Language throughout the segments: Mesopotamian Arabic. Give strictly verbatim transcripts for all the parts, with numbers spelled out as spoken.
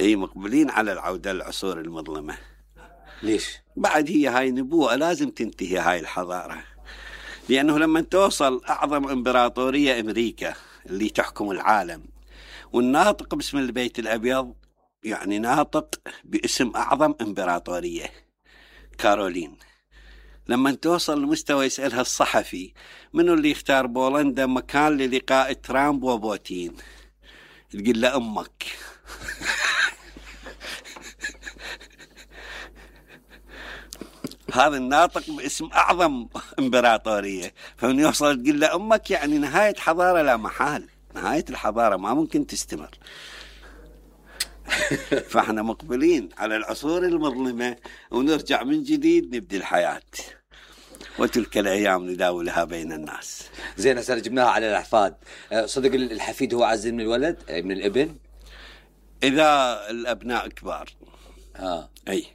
اي مقبلين على العودة للعصور المظلمة. ليش؟ بعد هي هاي نبوءة لازم تنتهي هاي الحضارة، لأنه لما توصل أعظم إمبراطورية أمريكا اللي تحكم العالم والناطق باسم البيت الأبيض يعني ناطق باسم أعظم إمبراطورية كارولين، لما توصل لمستوى يسألها الصحفي منو اللي يختار بولندا مكان للقاء ترامب وبوتين، تقول له أمك. هذا الناطق باسم أعظم إمبراطورية، فمن يوصل تقول له أمك يعني نهاية حضارة لا محال، نهاية الحضارة ما ممكن تستمر. فاحنا مقبلين على العصور المظلمة ونرجع من جديد نبدي الحياة، وتلك الأيام نداولها بين الناس. زين هسه جبناها على الأحفاد، صدق الحفيد هو أعز من الولد من الابن؟ إذا الأبناء كبار آه. أي،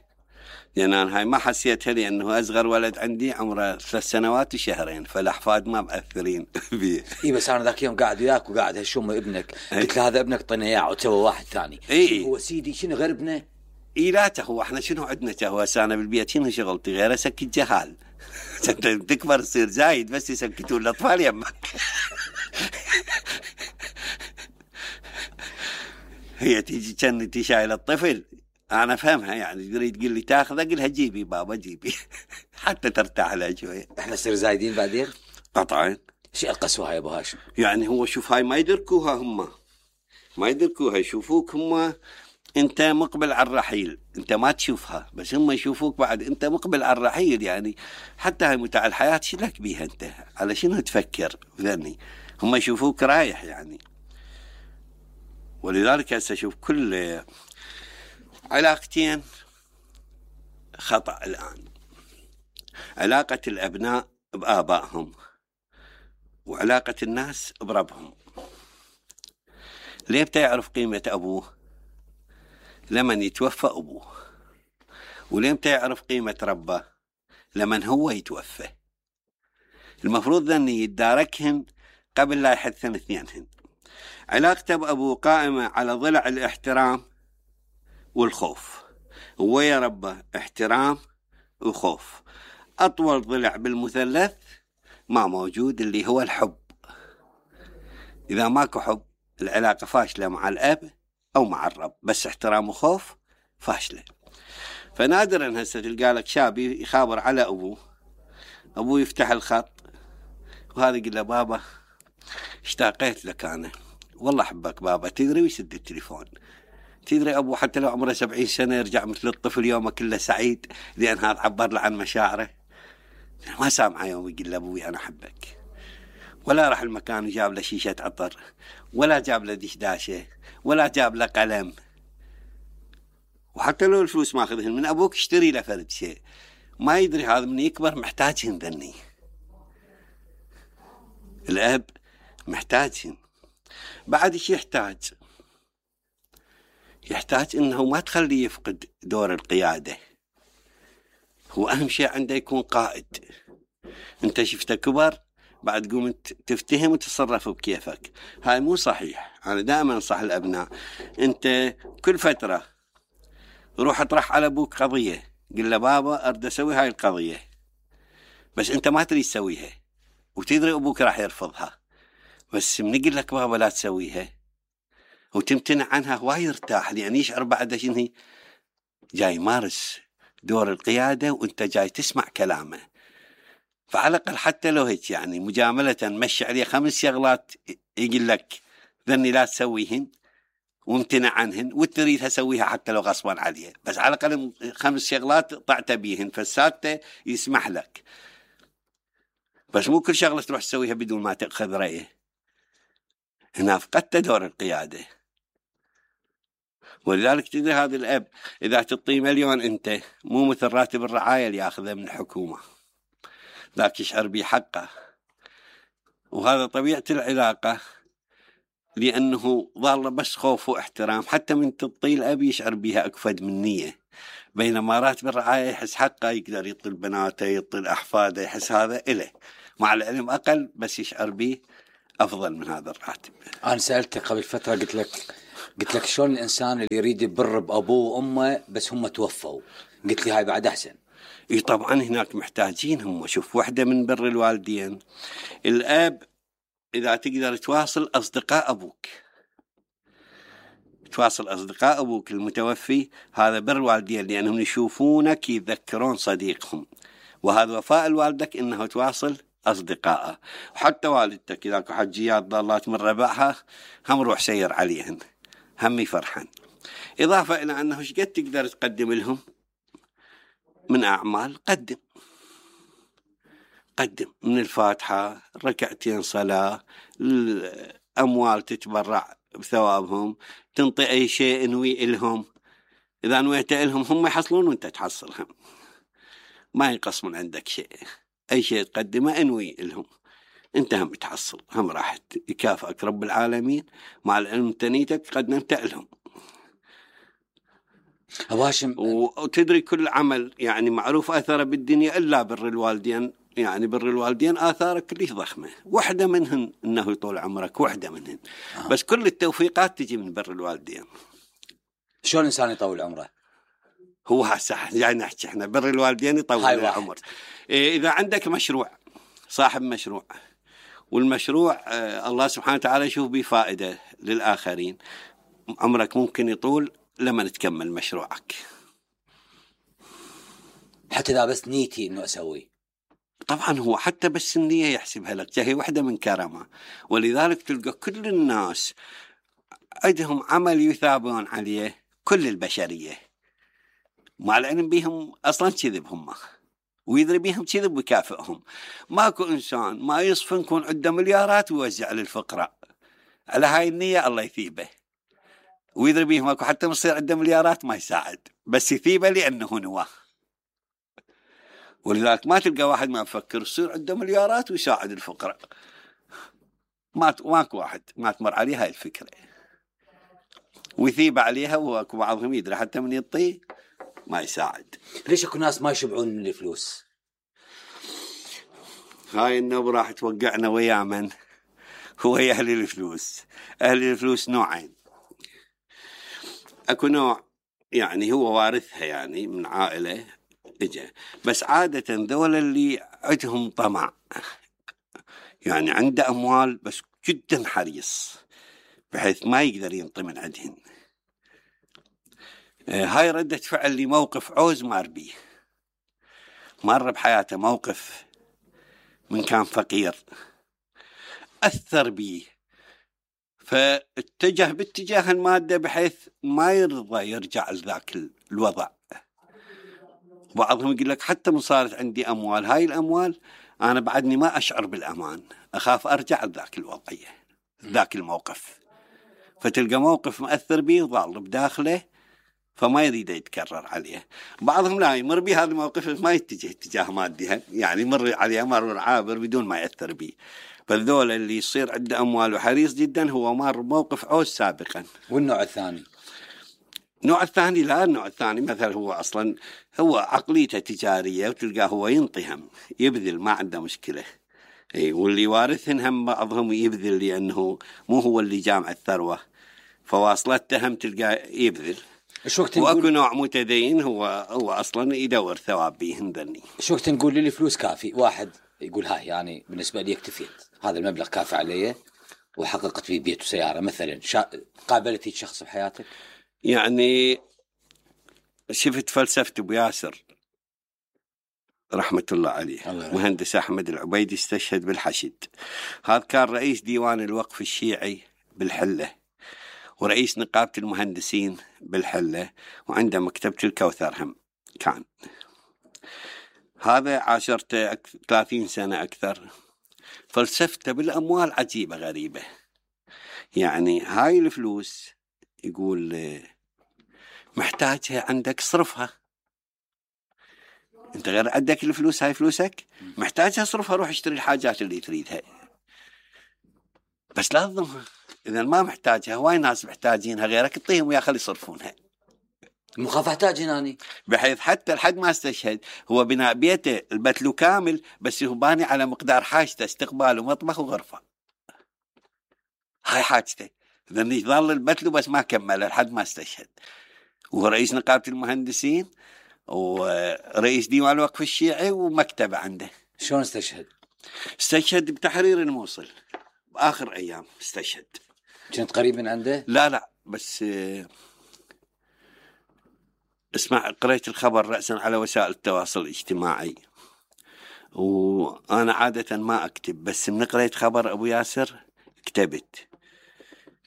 لأن أنا هاي ما حسيتها لأنه أصغر ولد عندي عمره ثلاث سنوات وشهرين، فالأحفاد ما مأثرين بيه. إيه بس أنا ذاك يوم قاعد وياك وقاعد هالشوم ابنك، قلت له هذا ابنك طينا إياه وتسوى واحد ثاني. إيه هو سيدي شنو غير ابنه؟ إيه لا تهو احنا شنو عندنا تهو أنا بالبيت شنو شغلتي غير أسكت جهال. تكبر تصير زايد بس يسكتون الأطفال يمك. هي تيجي كأنتي شايلة الطفل أنا فهمها، يعني تريد تقول لي تاخذه قلها جيبي بابا جيبي حتى ترتاح لها شوية. إحنا نصير زايدين بعدين قطعا. شيء القسوة يا أبو هاشم، يعني هو شوف هاي ما يدركوها هم، ما يدركوها، يشوفوك هم أنت مقبل على الرحيل، أنت ما تشوفها بس هم يشوفوك بعد أنت مقبل على الرحيل. يعني حتى هاي متاع الحياة شلك بيها أنت، على شنو تفكر ذني، هم يشوفوك رايح يعني. ولذلك هسه شوف كل علاقتين خطأ الآن، علاقة الأبناء بآبائهم وعلاقة الناس بربهم. ليه بتعرف قيمة أبوه؟ لمن يتوفى أبوه. وليه بتعرف قيمة ربه؟ لمن هو يتوفى. المفروض ذني يتداركهن قبل لا يحدثن اثنينهن. علاقته بأبوه قائمة على ضلع الاحترام والخوف، ويا ربه احترام وخوف. أطول ضلع بالمثلث ما موجود اللي هو الحب. إذا ماكو حب العلاقة فاشلة مع الأب أو مع الرب، بس احترام وخوف فاشلة. فنادرا هسه تلقى لك شاب يخابر على أبوه، أبوه يفتح الخط وهذا يقول له بابا اشتاقيت لك أنا، والله أحبك بابا، تدري ويسد التليفون. تدري أبوه حتى لو عمره سبعين سنة يرجع مثل الطفل يومه كله سعيد، لأن هذا عبر له عن مشاعره. ما سامعه يوم يقول له أبوي أنا أحبك، ولا راح المكان وجاب له شيشة عطر، ولا جاب له دشداشة، ولا جاب له قلم. وحتى لو الفلوس ما أخذهن من أبوك اشتري له فرد شيء، ما يدري هذا من يكبر محتاجهن ذني. الأب محتاجهن. بعد ايش يحتاج؟ يحتاج انه ما تخليه يفقد دور القيادة. هو اهم شيء عنده يكون قائد. انت شفته كبر بعد قوم تفتهم وتتصرف بكيفك، هاي مو صحيح. انا دائما انصح الابناء، انت كل فترة روح اطرح على ابوك قضية، قل له بابا اريد اسوي هاي القضية، بس انت ما تريد تسويها وتدري ابوك راح يرفضها، بس من يقول لك بابا لا تسويها وتمتنع عنها هو يرتاح، لأن يشعر بعد شنو جاي يمارس دور القيادة وانت جاي تسمع كلامه. فعلى الأقل حتى لو هيك يعني مجاملة مشي عليه خمس شغلات يقول لك ذني لا تسويهن وامتنع عنهن وتريدها اسويها حتى لو غصبا عليه، بس على الأقل خمس شغلات طعت بيهن، فالسادسة يسمح لك. بس مو كل شغلة تروح تسويها بدون ما تأخذ رأيه، هنا فقدت دور القيادة. ولذلك تدري هذا الأب إذا تعطيه مليون أنت مو مثل راتب الرعاية اللي يأخذه من الحكومة، ذاك يشعر بحقه. وهذا طبيعة العلاقة، لأنه ظل بس خوف واحترام. حتى من تعطيه الأب يشعر بها أكفد من نية، بينما راتب الرعاية يحس حقه، يقدر يعطي بناته يعطي أحفاده، يحس هذا إله، مع العلم أقل بس يشعر به أفضل من هذا الراتب. أنا سألتك قبل فترة قلت لك قلت لك شلون الإنسان اللي يريد يبر بأبوه وأمه بس هم توفوا؟ قلت لي هاي بعد أحسن. اي طبعا هناك محتاجين هم. شوف، واحدة من بر الوالدين الأب، إذا تقدر تواصل أصدقاء أبوك، تواصل أصدقاء أبوك المتوفي، هذا بر والدين، لأنهم يشوفونك يتذكرون صديقهم، وهذا وفاء الوالدك إنه تواصل أصدقائه. وحتى والدتك إذا كو حجيات ضالات من ربعها هم روح سير عليهن، هم يفرحن. إضافة إلى أنه شقد تقدر تقدم لهم من أعمال، قدم قدم من الفاتحة، ركعتين صلاة، الأموال تتبرع بثوابهم، تنطي أي شيء انوي إلهم. إذا نويت إلهم هم يحصلون وانت تحصلهم، ما ينقص من عندك شيء. أي شيء تقدمه انوي إلهم، انت هم تحصل، هم راح يكافئك رب العالمين مع العلم تنيتك قدمت لهم. هواشم، وتدري كل عمل يعني معروف أثره بالدنيا إلا بر الوالدين. يعني بر الوالدين آثاره كلش ضخمة، واحدة منهن إنه يطول عمرك، واحدة منهن. آه. بس كل التوفيقات تجي من بر الوالدين. شلون الإنسان يطول عمره؟ هو هسه يعني نحكي احنا بر الوالدين يطول العمر. إيه، إذا عندك مشروع، صاحب مشروع، والمشروع آه الله سبحانه وتعالى يشوف به فائدة للآخرين، عمرك ممكن يطول لما تكمل مشروعك. حتى إذا بس نيتي إنه أسوي، طبعا هو حتى بس النية يحسبها لك، هي واحدة من كرمه. ولذلك تلقى كل الناس عندهم عمل يثابون عليه، كل البشرية، مع العلم بيهم أصلا كذب هم، ويدري بيهم كذب ويكافئهم. ماكو إنسان ما يصفن يكون عنده مليارات ويوزع للفقراء على هاي النية، الله يثيبه. ويدري بيهم ماكو حتى مصير عنده مليارات ما يساعد، بس يثيبه لأنه نواه. ولذلك ما تلقى واحد ما يفكر يصير عنده مليارات ويساعد الفقراء، ما ماكو واحد ما تمر عليه هاي الفكرة ويثيب عليها. وأكو بعضهم يدري حتى من يطي ما يساعد. ليش اكو ناس ما يشبعون من الفلوس؟ هاي النوب راح توقعنا ويا من هو أهل الفلوس. أهل الفلوس نوعين، أكو نوع يعني هو وارثها يعني من عائلة إجا، بس عادة ذول اللي عندهم طمع، يعني عنده أموال بس جدا حريص بحيث ما يقدر ينطي من عندهن. هاي ردة فعل لموقف عوز مار بيه، مر بحياته موقف من كان فقير أثر بيه، فاتجه باتجاه المادة بحيث ما يرضى يرجع لذاك الوضع. بعضهم يقول لك حتى من صارت عندي أموال، هاي الأموال أنا بعدني ما أشعر بالأمان، أخاف أرجع لذاك الوضعية ذاك الموقف. فتلقى موقف مؤثر به وضال بداخله فما يريد يتكرر عليه. بعضهم لا يمر به هذا الموقف ما يتجه اتجاه مادي، يعني يمر عليه مر عابر بدون ما يأثر به. فالذول اللي يصير عنده أموال وحريص جدا هو مر موقف عوز سابقا. والنوع الثاني؟ النوع الثاني لا، النوع الثاني مثلا هو أصلا هو عقليته تجارية، وتلقاه هو ينطيهم يبذل ما عنده مشكلة. اي، واللي وارثهن هم بعضهم يبذل لأنه مو هو اللي جامع الثروة، فواصلته هم تلقاه يبذل. واكو نوع متدين هو هو اصلا يدور ثواب بيهن ذني. شو وقت نقول لي الفلوس كافي؟ واحد يقول هاي يعني بالنسبه لي اكتفيت، هذا المبلغ كافي علي وحققت فيه بيت وسياره مثلا. شا... قابلتي شخص بحياتك؟ يعني شفت فلسفة ابو ياسر رحمة الله عليه، الله مهندس أحمد العبيدي استشهد بالحشد. هذا كان رئيس ديوان الوقف الشيعي بالحلة، ورئيس نقابة المهندسين بالحلة، وعنده مكتبة الكوثر هم كان. هذا عاشرته ثلاثين سنة أكثر. فلسفته بالأموال عجيبة غريبة. يعني هاي الفلوس يقول محتاجها عندك صرفها، انت غير عندك الفلوس، هاي فلوسك محتاجها صرفها، روح اشتري الحاجات اللي تريدها، بس لا تظلمها. إذا ما محتاجها، هواي ناس محتاجينها غيرك اعطيهم ويا خلي يصرفونها. مخاف احتاج هناني، بحيث حتى لحد ما استشهد هو بناء بيته البتلو كامل، بس هو باني على مقدار حاجته، استقبال ومطبخ وغرفة، هاي حاجته. ذني ظل البتلو بس ما كمل لحد ما استشهد. وهو رئيس نقابة المهندسين ورئيس ديوان الوقف الشيعي ومكتبة عنده. شلون استشهد؟ استشهد بتحرير الموصل بآخر أيام استشهد. كنت قريب من عنده؟ لا لا بس اسمع، قريت الخبر رأسا على وسائل التواصل الاجتماعي، وأنا عادة ما أكتب، بس من قريت خبر أبو ياسر كتبت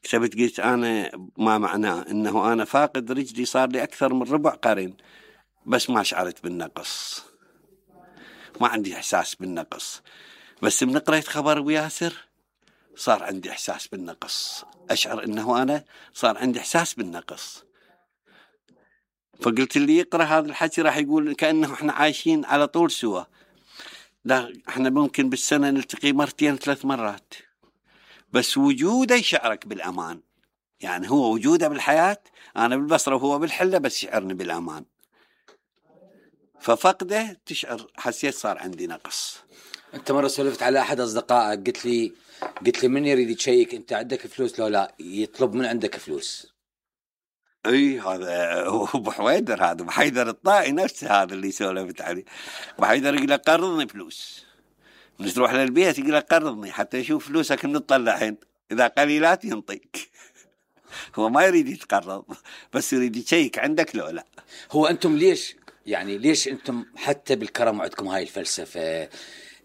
كتبت قلت أنا ما معناه إنه أنا فاقد رجلي صار لي أكثر من ربع قرن، بس ما شعرت بالنقص، ما عندي إحساس بالنقص. بس من قريت خبر أبو ياسر صار عندي إحساس بالنقص، أشعر إنه أنا صار عندي إحساس بالنقص. فقلت اللي يقرأ هذا الحكي راح يقول كأنه إحنا عايشين على طول سوا. لا، إحنا ممكن بالسنة نلتقي مرتين ثلاث مرات، بس وجوده يشعرك بالأمان. يعني هو وجوده بالحياة، أنا بالبصرة وهو بالحلة، بس يشعرني بالأمان. ففقده تشعر، حسيت صار عندي نقص. أنت مرة سولفت على أحد أصدقائك، قلت لي قلت لي من يريد يشيك أنت عندك فلوس لو لا، يطلب من عندك فلوس. اي هذا هو ابو حويدر، هذا ابو حيدر الطائي نفسه، هذا اللي سولفت عليه. ابو حيدر يقول له قرضني فلوس، من تروح للبيت يقول له قرضني حتى يشوف فلوسك من تطلعين، اذا قليلات ينطيك. هو ما يريد يتقرض، بس يريد يشيك عندك لو لا. هو أنتم ليش يعني ليش أنتم حتى بالكرم عندكم هاي الفلسفة؟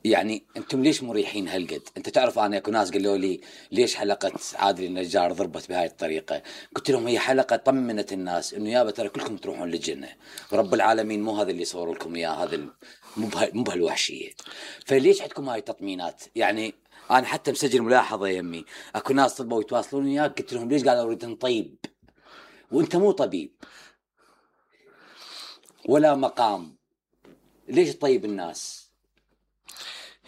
يعني أنتم ليش مريحين هالقد؟ أنت تعرف أنا أكو ناس قالوا لي ليش حلقة عادل النجار ضربت بهاي الطريقة؟ قلت لهم هي حلقة طمنت الناس إنه يابا ترى كلكم تروحون للجنة، ورب العالمين مو هذا اللي صور لكم إياه، هذا مو مو بهالوحشية. فليش عندكم هاي التطمينات؟ يعني أنا حتى مسجل ملاحظة يمي، أكو ناس طلبوا يتواصلون وياك، قلت لهم ليش قالوا أريد نطيب وأنت مو طبيب ولا مقام، ليش تطيب الناس؟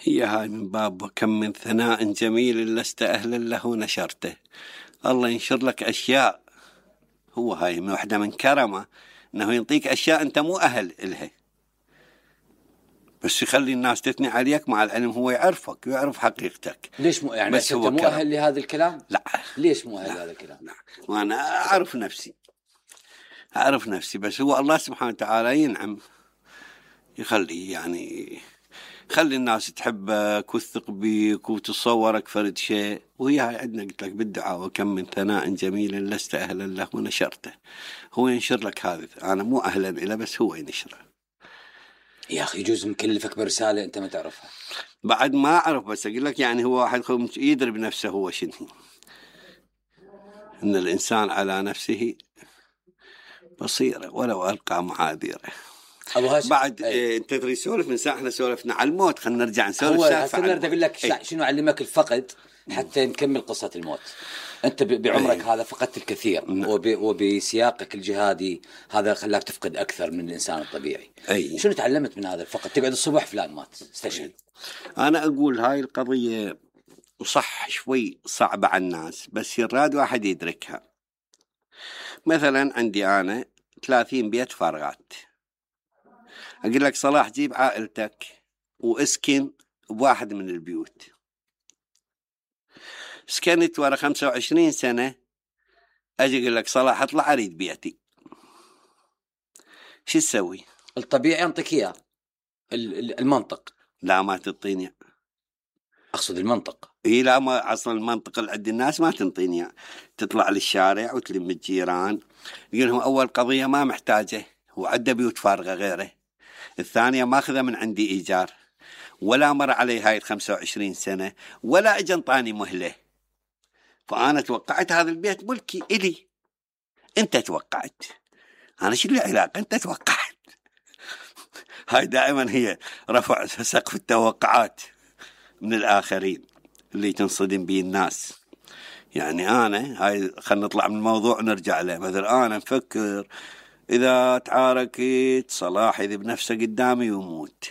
هي هاي من باب كم من ثناء جميل لست أهلا له نشرته. الله ينشر لك أشياء، هو هاي من واحدة من كرمه أنه ينطيك أشياء أنت مو أهل إلها، بس يخلي الناس تثني عليك، مع العلم هو يعرفك ويعرف حقيقتك. ليش مو يعني بس أنت هو مو كرم. أهل لهذا الكلام؟ لا. ليش مو أهل لا. لهذا الكلام؟ لا. وأنا أعرف نفسي أعرف نفسي بس هو الله سبحانه وتعالى ينعم، يخلي يعني خلي الناس تحبك وتثق بيك وتصورك فرد شيء. وهي هاي عندنا قلت لك بالدعاء وكم من ثناء جميل لست أهلا له ونشرته. هو ينشر لك هذا، أنا مو أهلا إله بس هو ينشره. يا أخي يجوز مكلفك برسالة أنت ما تعرفها. بعد ما أعرف، بس أقول لك يعني هو واحد يدري بنفسه هو شنو، إن الإنسان على نفسه بصيرة ولو ألقى معاذيره. أبو هاشم بعد أي. إيه انت تدري سولف من ساعه احنا سولفنا على الموت، خلينا نرجع نسولف هو سالفه هسه اقول لك ايه. شنو علمك الفقد حتى نكمل قصة الموت. أنت بعمرك ايه. هذا فقدت الكثير، نعم. وب... وبسياقك الجهادي هذا خلاك تفقد أكثر من الإنسان الطبيعي. ايه. شنو تعلمت من هذا الفقد؟ تقعد الصبح فلان مات استشهد. انا اقول هاي القضيه صح شوي صعبه على الناس، بس يراد واحد يدركها. مثلا عندي انا ثلاثين بيت فارغات، اقول لك صلاح جيب عائلتك واسكن بواحد من البيوت. سكنت ورا خمسة وعشرين سنة، اجي اقول لك صلاح اطلع اريد بيتي، شو تسوي؟ الطبيعي أنطيك إياه، المنطق. لا ما تنطيني. أقصد المنطق. اي لا، ما اصلا المنطق اللي عند الناس ما تنطيني. تطلع للشارع وتلم الجيران، يقول لهم اول قضية ما محتاجه، هو عنده بيوت فارغة غيره. الثانية ماخذة من عندي ايجار، ولا مر علي هاي الخمسة وعشرين سنة، ولا اجى انطاني مهلة. فانا توقعت هذا البيت ملكي الي. انت توقعت، انا شو لي علاقة؟ انت توقعت. هاي دائما هي رفع سقف التوقعات من الآخرين اللي تنصدم به الناس. يعني أنا هاي خلنا نطلع من الموضوع ونرجع له. مثلا أنا مفكر إذا تعاركت صلاح يذب نفسه قدامي ويموت،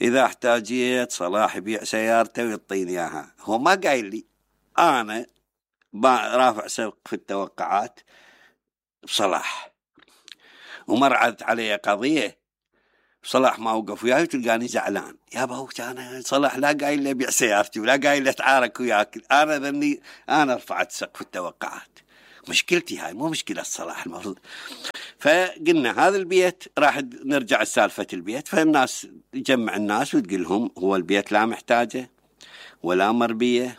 إذا احتاجيت صلاح يبيع سيارته ويعطيني إياها. هو ما قايل لي، أنا رافع سقف التوقعات بصلاح. ومرعت علي قضية صلاح ما وقف وياي وتلقاني زعلان. يا باو انا صلاح لا قايل لي بيع سيارتي ولا قايل لي اتعارك وياك. انا ذني انا رفعت سقف التوقعات. مشكلتي هاي مو مشكلة صلاح المفروض. فقلنا هذا البيت راح نرجع لسالفة البيت. فالناس تجمع الناس وتقول لهم هو البيت لا محتاجه ولا مربية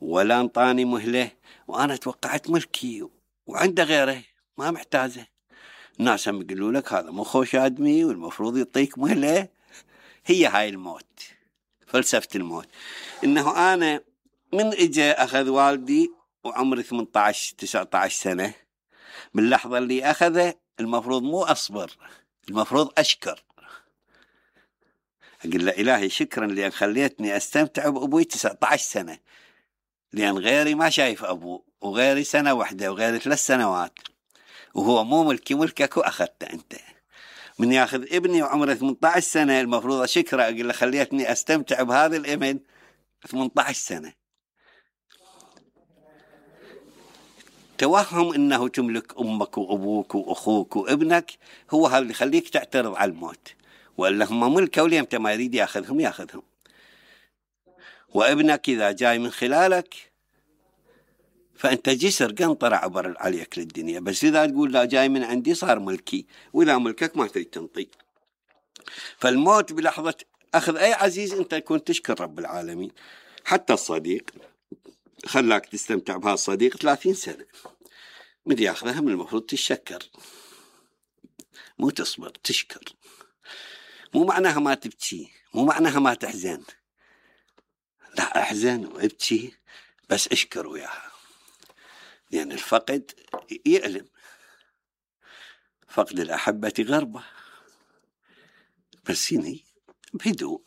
ولا انطاني مهلة، وانا توقعت ملكي وعنده غيره ما محتاجه. الناس هم يقولوا لك هذا مو خوش آدمي والمفروض يعطيك مهلة. هي هاي الموت، فلسفة الموت. انه انا من اجى اخذ والدي وعمري ثمانية عشر تسعة عشر سنة، باللحظة اللي اخذه المفروض مو اصبر، المفروض اشكر. اقول له الهي شكرا لان خليتني استمتع بابوي تسعة عشر سنة، لان غيري ما شايف ابوه، وغيري سنة واحدة وغيري ثلاث سنوات، وهو مو ملكي ملكك واخذته انت. من ياخذ ابني وعمره ثمانية عشر سنة المفروض اشكره، اقول له خليتني استمتع بهذا الابن ثمانية عشر سنة. توهم انه تملك امك وابوك واخوك وابنك هو هذا اللي يخليك تعترض على الموت، والا هم ملكه وليمتى ما يريد ياخذهم ياخذهم. وابنك اذا جاي من خلالك فانت جسر قنطرة عبر عليك للدنيا، بس اذا تقول لا جاي من عندي صار ملكي، واذا ملكك ما تريد تنطي. فالموت بلحظة اخذ اي عزيز انت كنت تشكر رب العالمين. حتى الصديق خلاك تستمتع بهذا الصديق ثلاثين سنة، من ياخذها من المفروض تشكر مو تصبر، تشكر. مو معناها ما تبكي، مو معناها ما تحزن، لا احزن وابكي بس اشكر وياها، لان يعني الفقد يألم، فقد الأحبة غربة، بس هني بهدوء.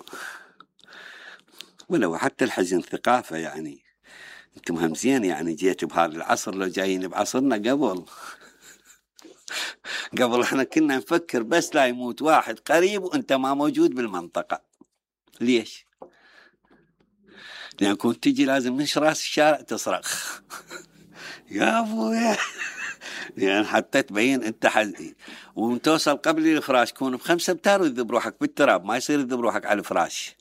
ولو حتى الحزن ثقافة، يعني انتم هم زين يعني جيتوا بهذا العصر، لو جايين بعصرنا قبل قبل احنا كنا نفكر بس لا يموت واحد قريب وانت ما موجود بالمنطقة. ليش؟ لان كنت تجي لازم من راس الشارع تصرخ يا ابويا، يعني حتى تبين انت حزين. وتوصل قبل الفراش كون بخمسة امتار وتذب روحك بالتراب، ما يصير تذب روحك على الفراش،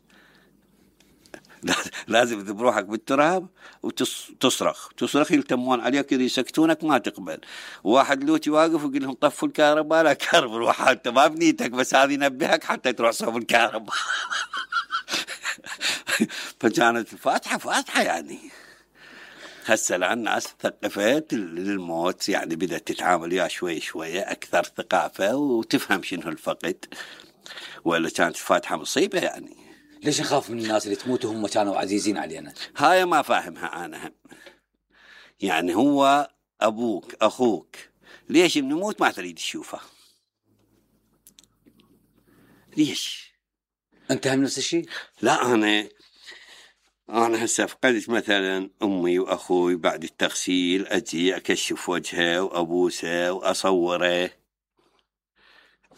لازم تذب روحك بالتراب وتصرخ تصرخ يلتمون عليك يسكتونك ما تقبل. واحد لوتي واقف ويقول لهم طفوا الكهرباء، لا كهرب روح انت ما بنيتك، بس هذه ينبهك حتى تروح صوب الكهرباء. فكانت الفاتحة فاتحة يعني. هسه الآن الناس ثقفت للموت، يعني بدأت تتعامل وياه شوي شوية أكثر ثقافة وتفهم شنو الفقد، ولا كانت الفاتحة مصيبة يعني. ليش نخاف من الناس اللي تموت وهم كانوا عزيزين علينا؟ هاي ما فاهمها أنا هم. يعني هو أبوك أخوك، ليش من يموت ما تريد تشوفه؟ ليش؟ أنت هم نفس الشيء؟ لا أنا أنا هسه فقدت مثلا أمي وأخوي بعد التغسيل، أجي أكشف وجهه وأبوسه وأصوره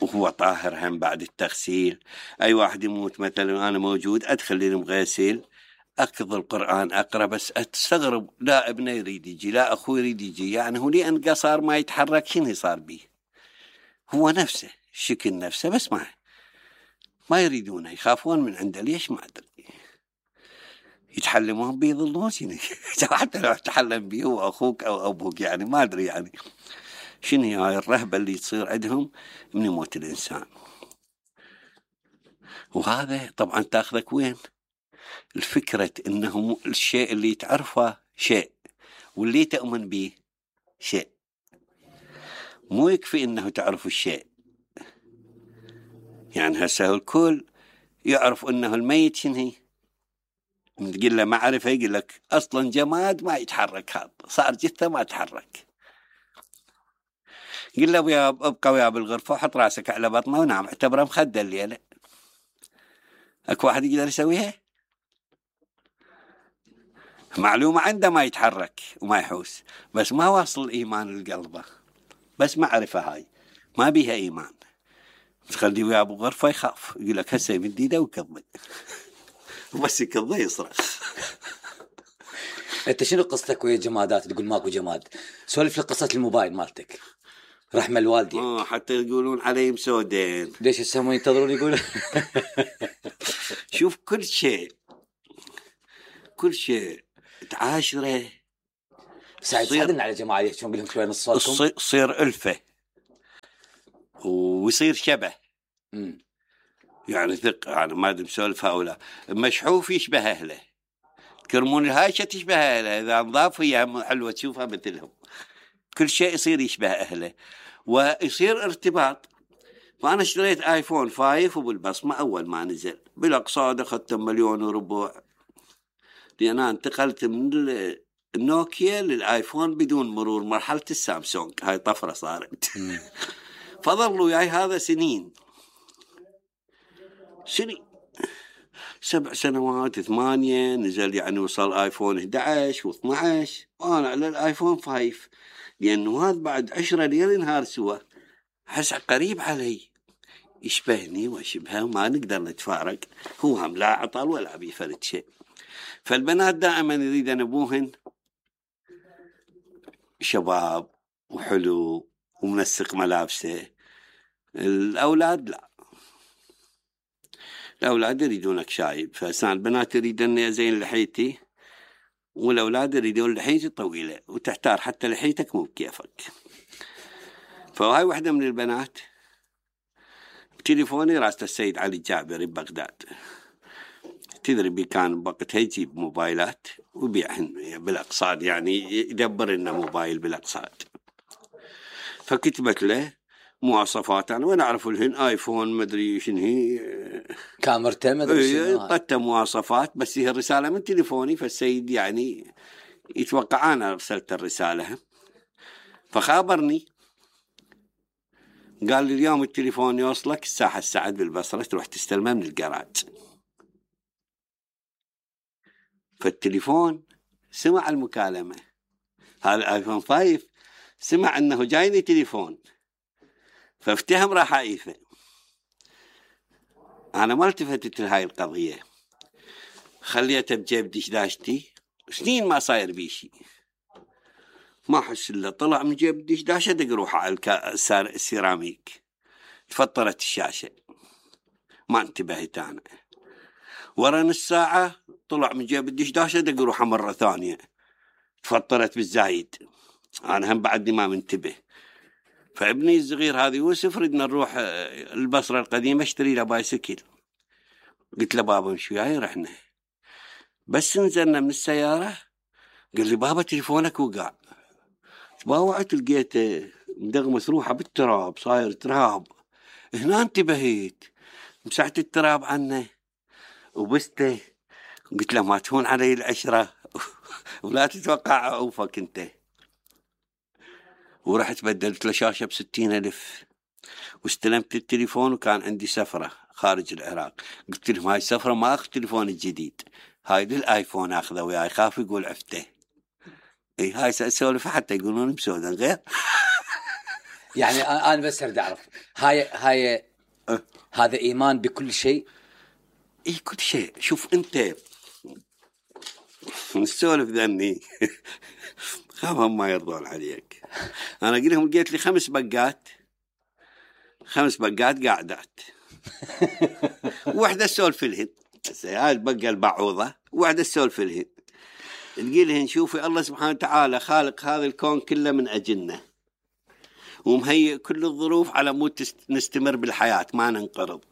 وهو طاهر هم بعد التغسيل. أي واحد يموت مثلا أنا موجود أدخل المغسل أكض القرآن أقرأ، بس أستغرب لا ابنه يريد يجي لا أخوي يريد يجي، يعني هو لأن قصار ما يتحرك شنو صار بيه؟ هو نفسه شكل نفسه بس ما ما يريدونه، يخافون من عنده. ليش ما أدري، يتحلمون بيه يظلون شنو حتى لو تحلم بيه هو أخوك أو أبوك، يعني ما أدري يعني شنو هاي الرهبة اللي تصير عندهم من يموت الإنسان. وهذا طبعا تاخذك وين؟ الفكرة إنه الشيء اللي تعرفه شيء واللي تؤمن به شيء، مو يكفي إنه تعرف الشيء. يعني هسه الكل يعرف إنه الميت شنو، تقول له معرفة يقول لك أصلا جماد ما يتحرك، هذا صار جثة ما تحرك. قل له ويا ابقى ويا بالغرفة وحط راسك على بطنه ونام، اعتبره مخدة الليلة. اكو واحد يقدر يسويها؟ معلومة عنده ما يتحرك وما يحوس، بس ما واصل الإيمان لقلبه، بس معرفة هاي ما بيها إيمان. تخليه ويا بالغرفة يخاف، يقول لك هسه يمد ايده ويكضه وبس يكضه يصرخ. انت شنو قصتك ويا الجمادات؟ تقول ماكو جماد، سولف لي قصة الموبايل مالتك رحمة الوالدين. اه حتى يقولون علي مسودين. ليش يسمون ينتظرون يقولون؟ شوف كل شيء كل شيء تعاشره سعد ساعدنا على جماعة يحكون قلهم شوي نص صوتكم. تصير ألفة ويصير شبه. امم يعني ثق يعني ما ادري مسولف هؤلاء مشحوف يشبه اهله، تكرمون الهايشه تشبه اهله، اذا نضاف هي حلوه تشوفها مثلهم، كل شيء يصير يشبه اهله ويصير ارتباط. فانا اشتريت ايفون فايف وبالبصمه اول ما نزل بالاقصاد اخذت مليون وربع، لان انا انتقلت من النوكيا للايفون بدون مرور مرحله السامسونج، هاي طفره صارت. فظلوا وياي هذا سنين سنين سبع سنوات ثمانية، نزل يعني وصل ايفون احد عشر واثني عشر وانا على الايفون فايف، لانه هذا بعد عشرة ليل نهار سوا، حس قريب علي يشبهني واشبهه وما نقدر نتفارق، هو هم لا عطل ولا بيفرد شيء. فالبنات دائما يريدن ابوهن شباب وحلو ومنسق ملابسه، الاولاد لا، الأولاد يريدونك شايب. فسان البنات يريدون أزين لحيتي والأولاد يريدون لحيتي طويلة وتحتار حتى لحيتك مو بكيفك. فهاي واحدة من البنات بتليفوني راسته السيد علي الجابري ببغداد، تدري بي كان بوقتها يجيب موبايلات ويبيعهن بالأقساط، يعني يدبر لنا موبايل بالأقساط. فكتبت له مواصفات انا وين اعرف لهن ايفون مدري شنو هي كاميرته مدري شنو، قدت مواصفات بس هي الرساله من تليفوني، فالسيد يعني يتوقع انا ارسلت الرساله. فخابرني قال لي اليوم التليفون يوصلك الساحه السعد بالبصره تروح تستلمه من الجراج. فالتليفون سمع المكالمه، هذا الايفون فايف سمع انه جايني تليفون فافتهم رحايفه. انا ما التفتت لهاي القضيه، خليته بجيب دشداشتي سنين ما صاير بيشي، ما احس الا طلع من جيب دشداشه دق روحه على السيراميك، تفطرت الشاشه ما انتبهت انا. ورا نص ساعه طلع من جيب الدشداشه دق روحه مره ثانيه تفطرت بالزايد، انا هم بعدني ما منتبه. فابني الصغير هذا يوسف ردنا نروح البصرة القديمة اشتري له بايسكل، قلت له بابا مش وياي، رحنا بس نزلنا من السيارة قال لي بابا تليفونك وقع. تباوعت لقيته مدغمس روحه بالتراب صاير تراب، هنا انتبهيت مسحت التراب عنه وبسته، قلت له ما تهون علي العشرة ولا تتوقع عوفك انت. ورحت بدلت له شاشة بستين ألف واستلمت التليفون، وكان عندي سفرة خارج العراق، قلت لهم هاي السفرة ما أخذ تليفون الجديد، هاي للآيفون أخذه وياي، خاف يقول عفته. اي هاي سأسولف حتى يقولون مسودا غير. يعني أنا بس أريد أعرف هاي هاي هذا إيمان بكل شيء؟ اي كل شيء. شوف أنت نسولف ذني خافهم ما يرضون عليك. أنا أقول لهم لقيت لي خمس بقات خمس بقات قاعدات واحدة سولف لهن، هاي البقة البعوضة واحدة سولف لهن، تقول لهن شوفي الله سبحانه وتعالى خالق هذا الكون كله من أجلنا ومهيئ كل الظروف على مود نستمر بالحياة ما ننقرض،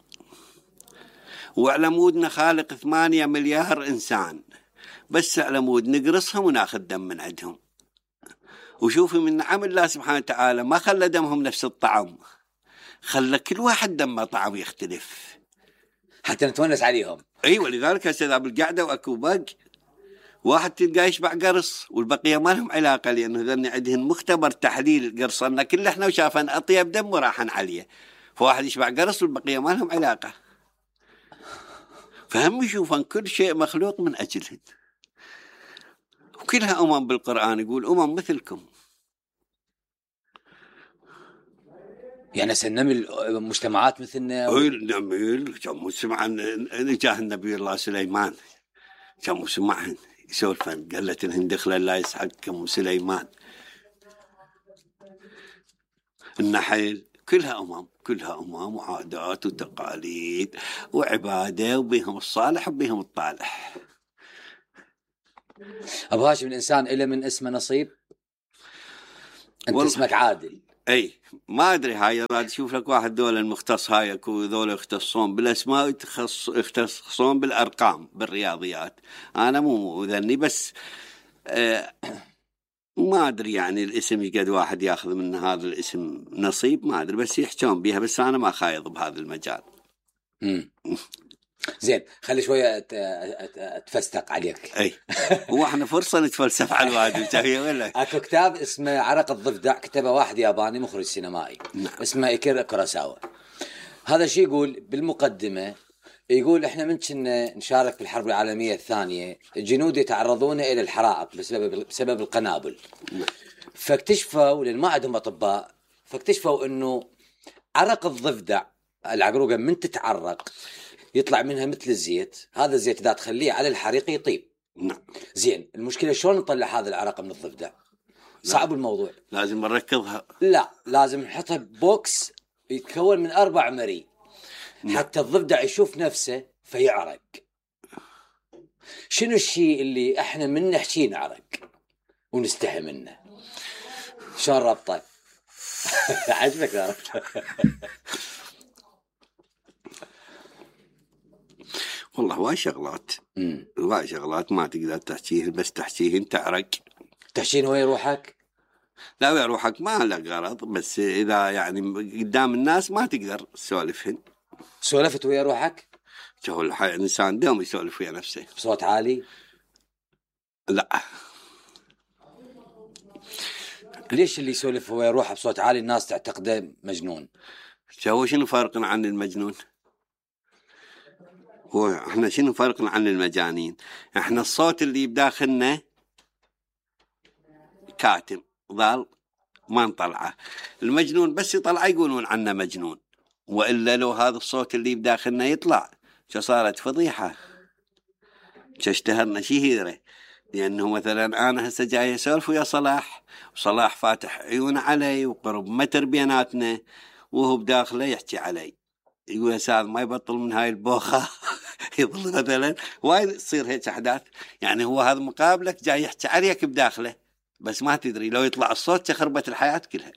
وعلى مودنا خالق ثمانية مليار إنسان بس على مود نقرصهم وناخذ دم من عندهم. وشوفي من نعم الله سبحانه وتعالى ما خلى دمهم نفس الطعم، خلى كل واحد دمه طعم يختلف حتى نتونس عليهم. اي ولذلك هسه اذا بالقعده واكو بق واحد تلقاه يشبع قرص والبقيه ما لهم علاقه، لانه ذني عندهم مختبر تحليل قرصنا كل احنا وشافن اطيب دم وراحن عليه، فواحد يشبع قرص والبقيه ما لهم علاقه. فهم يشوفن كل شيء مخلوق من اجلهن، وكلها امم بالقران يقول امم مثلكم. يعني سنمل مجتمعات مثلنا و... نميل كم سمع نجاه النبي الله سليمان، كم سمعهن يسولفن قالت لهن دخل لا يسحقكم سليمان. النحل كلها امم كلها امم وعادات وتقاليد وعباده وبيهم الصالح وبيهم الطالح. ابو هاشم الانسان إله من اسمه نصيب؟ انت والله. اسمك عادل. اي ما ادري، هاي راد اشوف لك واحد دول المختص، هاي اكو ذول يختصون بالاسماء ويتخص يختصون بالارقام بالرياضيات. انا مو ذني بس آه ما ادري يعني الاسم يقعد واحد ياخذ من هذا الاسم نصيب، ما ادري بس يحجون بيها، بس انا ما خايض بهذا المجال. امم زين، خلي شويه أت- أت- اتفستق عليك. اي هو احنا فرصه نتفلسف على الوادي ولا اكو كتاب اسمه عرق الضفدع، كتبه واحد ياباني مخرج سينمائي نعم. اسمه ايكيرا كوراساوا. هذا شيء يقول بالمقدمه، يقول احنا من كنا نشارك بالحرب العالميه الثانيه جنود يتعرضون الى الحرائق بسبب بسبب القنابل. نعم. فاكتشفوا، لان ما عندهم اطباء، فاكتشفوا انه عرق الضفدع العقروقه من تتعرق يطلع منها مثل الزيت، هذا الزيت اذا تخليه على الحريق يطيب. نعم. زين، المشكله شلون نطلع هذا العرق من الضفدع؟ صعب الموضوع. لازم نركضها. لا، لازم نحطها ببوكس يتكون من اربع مري حتى الضفدع يشوف نفسه فيعرق. شنو الشيء اللي احنا من نحكي نعرق ونستحي منه؟ شلون ربطه؟ عجبك يا رب؟ والله هواي شغلات، هواي شغلات ما تقدر تحكيه، بس تحكيهن تعرق. تحشين وين روحك؟ لا ويا روحك ما له غرض، بس اذا يعني قدام الناس ما تقدر تسولفهن. سولفت ويا روحك؟ شو الحي الانسان دوم يسولف ويا نفسه بصوت عالي؟ لا. ليش اللي يسولف ويا روحه بصوت عالي الناس تعتقده مجنون؟ شو شنو فرقنا عن المجنون؟ هو احنا شنو فرقنا عن المجانين؟ احنا الصوت اللي بداخلنا كاتم ظل ما نطلعه. المجنون بس يطلع يقولون عنه مجنون، وإلا لو هذا الصوت اللي بداخلنا يطلع شو صارت فضيحة، شو اشتهرنا شهيرة. لأنه مثلا أنا هسه جاي أسولف ويا صلاح، وصلاح فاتح عيون علي وقرب متر بيناتنا، وهو بداخله يحكي علي يقول يا سعد ما يبطل من هاي البوخة. يظل مثلا وايد تصير هيك أحداث. يعني هو هذا مقابلك جاي يحكي عليك بداخله، بس ما تدري لو يطلع الصوت تخربت الحياة كلها.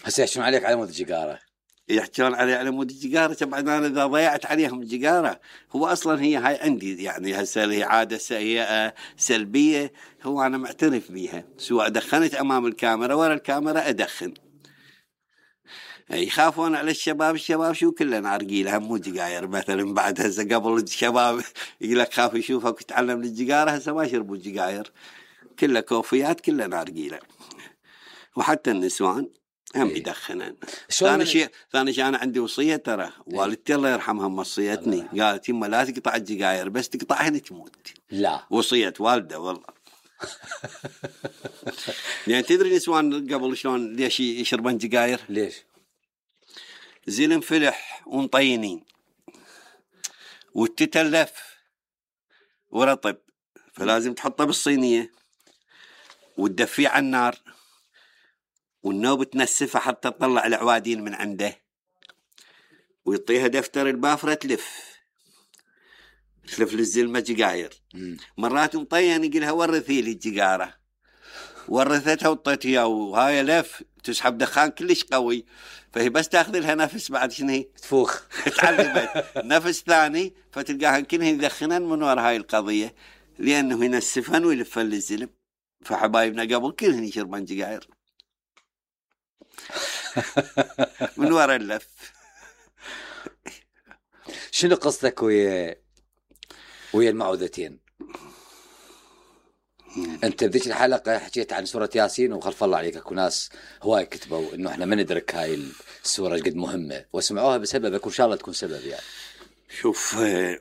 هسه يحشون عليك على مود الجيجارة، يحكون علي على مود الجيجارة. طبعا أنا إذا ضيعت عليهم الجيجارة، هو أصلا هي هاي عندي يعني هسه هي عادة سيئة سلبية، هو أنا معترف بيها. سواء دخنت أمام الكاميرا ورا الكاميرا أدخن. يخافون على الشباب، الشباب شو كلنا عرقيلها مو جيجاير مثلا. بعد هسه قبل الشباب يقول لك خاف يشوفك وتعلم الجيجارة، هسه ما يشربوا الجيجاير، كلها كوفيات كلنا عرقيلة. وحتى النسوان هم إيه. يدخنن. شلون ثاني من- شيء ثاني شيء انا عندي وصيه ترى، والدتي الله يرحمها موصيتني، قالت يما لا تقطع الجيجاير، بس تقطعهن تموت. لا وصيه والده والله. يعني تدري نسوان قبل شلون ليش يشربون جيجاير؟ ليش؟ زين فلح ومطينين وتتلف ورطب، فلازم تحطه بالصينيه وتدفيه على النار، والنوب تنسفه حتى تطلع العوادين من عنده، ويعطيها دفتر البافرة تلف تلف للزلمة جيجاير. مرات مطين يقولها ورثي لي الجيجارة، ورثتها وطيت اياه، وهاي لف تسحب دخان كلش قوي، فهي بس تاخذ لها نفس بعد شنو تفوخ. تعلمت نفس ثاني، فتلقاها كلها يدخنن من وراء هاي القضية، لأنه ينسفن ويلفن للزلم. فحبايبنا قبل كلهن يشربن جيجاير من وراء اللف. شنو قصتك ويا ويا المعوذتين؟ انت بذيك الحلقه حكيت عن سوره ياسين، وخلف الله عليك اكو ناس هواي كتبوا انه احنا ما ندرك هاي السوره قد مهمه، وسمعوها بسببك، وان شاء الله تكون سبب. يعني شوف آه،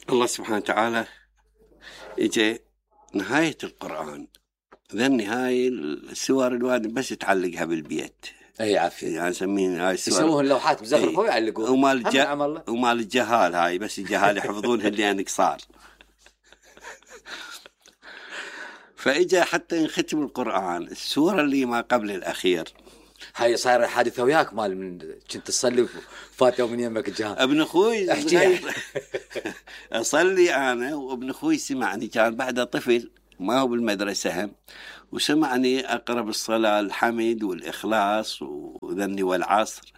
الله سبحانه وتعالى اجى نهاية القرآن، ذا النهاية السور الوادي بس تعلقها بالبيت. اي عافيه، يعني نسمين هاي السور يسوون اللوحات مزخرفه ويعلقوها. ومال الج... هم الله. ومال الجهال، هاي بس الجهال يحفظونها اللي انك صار. فاجا حتى ينختم القرآن السورة اللي ما قبل الأخير. هاي صايره حادثه وياك مال من كنت تصلي فاتوا من يمك الجهال. ابن اخوي احكي. اصلي انا، وابن اخوي سمعني، كان بعده طفل ما هو بالمدرسة هم، وسمعني أقرأ بالصلاة الحمد والإخلاص وذني والعصر.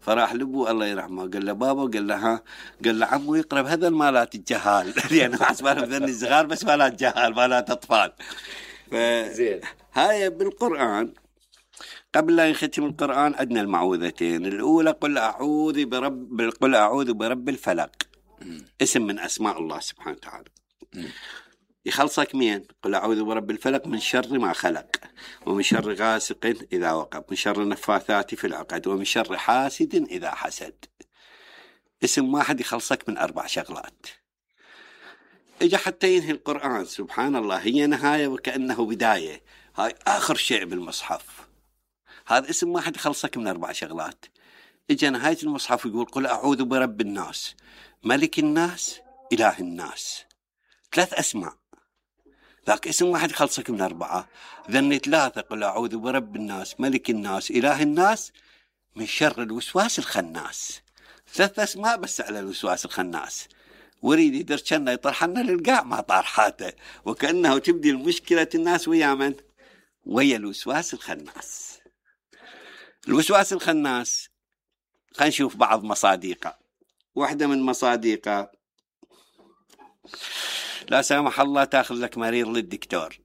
فراح لابو الله يرحمه قال له بابا، قال له ها، قال له عمو يقرأ بهذا المالات الجهال لأنه حسبانه بذني الصغار بس مالات جهال مالات أطفال. زين. هاي بالقرآن قبل لا يختم القرآن عندنا المعوذتين. الأولى قل أعوذ برب قل أعوذ برب الفلق، اسم من أسماء الله سبحانه وتعالى. يخلصك مين؟ قل أعوذ برب الفلق من شر ما خلق، ومن شر غاسق إذا وقب، من شر النفاثات في العقد، ومن شر حاسد إذا حسد. اسم واحد يخلصك من أربع شغلات. إجا حتى ينهي القرآن سبحان الله، هي نهاية وكأنه بداية، هاي آخر شيء بالمصحف. هذا اسم واحد يخلصك من أربع شغلات. إجا نهاية المصحف يقول قل أعوذ برب الناس ملك الناس إله الناس. ثلاث أسماء، ذاك اسم واحد يخلصك من أربعة. ذني ثلاثة قل أعوذ برب الناس ملك الناس إله الناس من شر الوسواس الخناس. ثلاث أسماء بس على الوسواس الخناس. وريد يدرشنا يطرحنا للقاع ما طارحاته، وكأنه تبدي المشكلة الناس ويا من؟ ويا الوسواس الخناس. الوسواس الخناس خلينا نشوف بعض مصادقه. واحدة من مصادقه لا سامح الله تاخذ لك مريض للدكتور،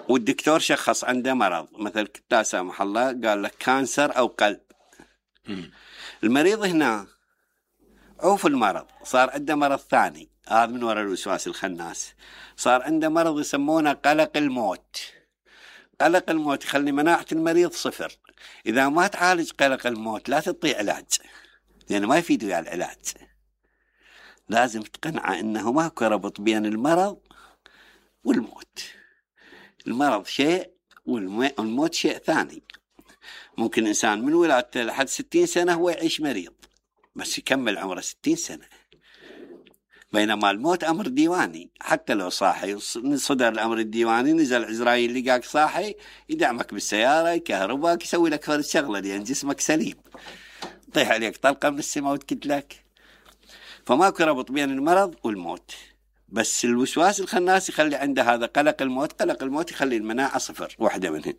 والدكتور شخص عنده مرض مثل لا سامح الله قال لك كانسر أو قلب. المريض هنا عوف المرض صار عنده مرض ثاني، هذا من وراء الوسواس الخناس. صار عنده مرض يسمونه قلق الموت. قلق الموت يخلي مناعة المريض صفر. إذا ما تعالج قلق الموت لا تعطي علاج، لأنه يعني ما يفيد ويا العلاج. لازم تقنعه أنه ماكو ربط بين المرض والموت. المرض شيء والموت شيء ثاني. ممكن إنسان من ولادته لحد ستين سنة هو يعيش مريض بس يكمل عمره ستين سنة، بينما الموت أمر ديواني. حتى لو صاحي صدر الأمر الديواني نزل عزرائيل لقاك صاحي يدعمك بالسيارة يكهرباك يسوي لك فرد شغلة لأن جسمك سليم، طيح عليك طلقة من السماء وتكتلك. فماكو ربط بين المرض والموت. بس الوسواس الخناس يخلي عنده هذا قلق الموت. قلق الموت يخلي المناعة صفر، واحدة منهن.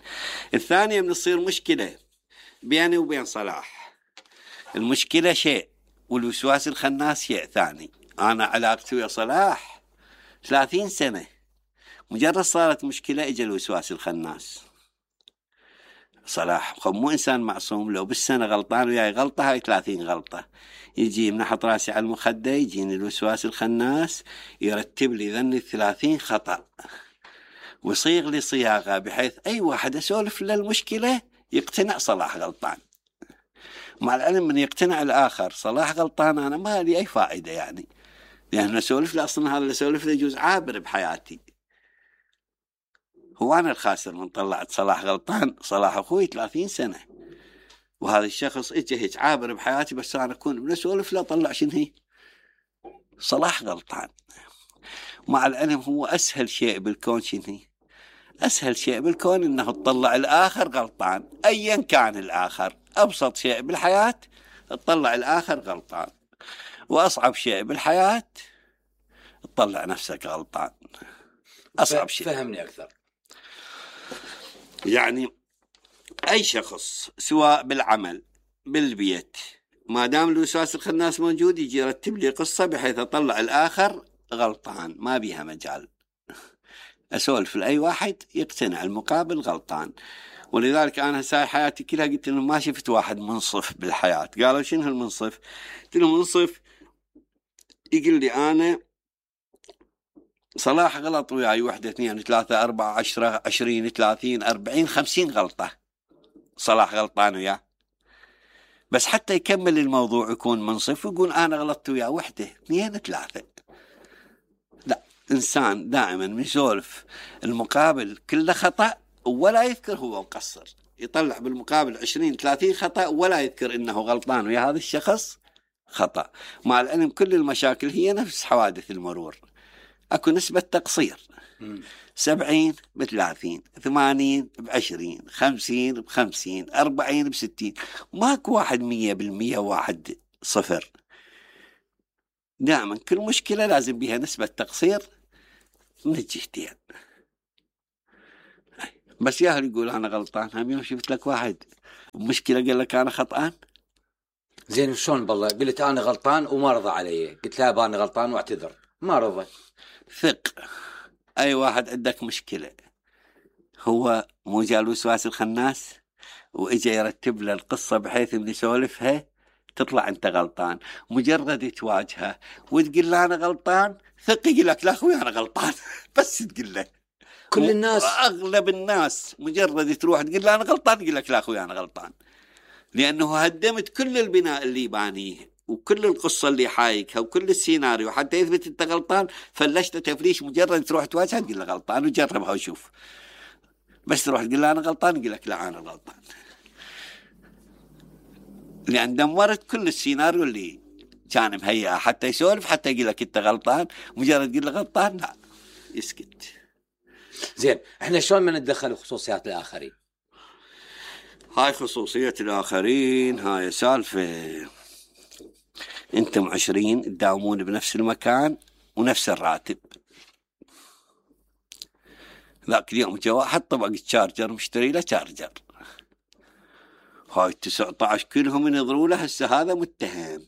الثانية من تصير مشكلة بيني وبين صلاح. المشكلة شيء والوسواس الخناس شيء ثاني. أنا علاقتي ويا صلاح ثلاثين سنة، مجرد صارت مشكلة إجا الوسواس الخناس. صلاح مو إنسان معصوم، لو بالسنة غلطان وياي غلطة هاي ثلاثين غلطة. يجي منحط راسي على المخدة يجيني الوسواس الخناس يرتب لي ذني الثلاثين خطأ ويصيغ لي صياغة بحيث أي واحد أسولف للمشكلة يقتنع صلاح غلطان. مع العلم من يقتنع الآخر صلاح غلطان أنا ما لي أي فائدة يعني، لأن أسولف له أصلا هذا اللي أسولف له يجوز عابر بحياتي. هو أنا الخاسر من طلعت صلاح غلطان. صلاح أخوي ثلاثين سنة وهذا الشخص إجا هيك عابر بحياتي، بس أنا أكون من أسولف له طلع شنو هي صلاح غلطان. مع العلم هو أسهل شيء بالكون شنو هي؟ أسهل شيء بالكون إنه تطلع الآخر غلطان أيا كان الآخر. أبسط شيء بالحياة تطلع الآخر غلطان، وأصعب شيء بالحياة تطلع نفسك غلطان. أصعب شيء. فهمني أكثر. يعني أي شخص سواء بالعمل بالبيت ما دام الوسواس الخناس موجود يجي يرتب لي قصة بحيث أطلع الآخر غلطان، ما بيها مجال. أسولف لأي واحد يقتنع المقابل غلطان. ولذلك أنا هساي حياتي كلها قلت لهم ما شفت واحد منصف بالحياة. قالوا شنو المنصف؟ قلت لهم منصف يقول لي أنا صلاح غلط وياي واحدة اثنين ثلاثة أربعة عشرة عشرين ثلاثين أربعين خمسين غلطة، صلاح غلطان وياه، بس حتى يكمل الموضوع يكون منصف ويقول أنا غلطت وياه واحدة اثنين ثلاثة. لا، إنسان دائما يسولف المقابل كله خطأ ولا يذكر هو مقصر، يطلع بالمقابل عشرين ثلاثين خطأ ولا يذكر إنه غلطان ويا هذا الشخص خطأ. مع العلم كل المشاكل هي نفس حوادث المرور، أكو نسبة تقصير سبعين بثلاثين ثمانين بعشرين خمسين بخمسين أربعين بستين، ماكو واحد مية بالمية واحد صفر. دائما كل مشكلة لازم بها نسبة تقصير من الجهتين. بس ياهل يقول أنا غلطان، هم يوم شفت لك واحد مشكلة قال لك أنا خطأان. زين شلون بالله قلت أنا غلطان وما رضى علي، قلت لا أنا غلطان واعتذر ما رضى. ثق أي واحد عندك مشكلة هو مو جاء الوسواس الخناس وإجا يرتب له القصة بحيث إن يسولفها تطلع أنت غلطان. مجرد تواجهه وتقول له أنا غلطان، ثق يقول لك لا أخوي أنا غلطان. بس تقول له كل الناس أغلب الناس مجرد تروح تقول له أنا غلطان يقول لك لا أخوي أنا غلطان، لأنه هدمت كل البناء اللي بانيه وكل القصة اللي حايكها وكل السيناريو حتى يثبت أنت غلطان. فلشت تفريش مجرد تروح تواجهه تقول له غلطان وجربها وشوف. بس تروح تقول له أنا غلطان يقول لك لا أنا غلطان، لأن دمرت كل السيناريو اللي كان مهيئة حتى يسولف حتى يقول لك أنت غلطان. مجرد تقول له غلطان لا يسكت. زين احنا شلون ما نتدخل بخصوصيات الآخرين؟ هاي خصوصية الآخرين هاي سالفة. انتم عشرين تداومون بنفس المكان ونفس الراتب، ذاك اليوم جاء واحد طبق تشارجر مشتري له تشارجر، هاي تسعة عشر كلهم ينظروا له هسه هذا متهم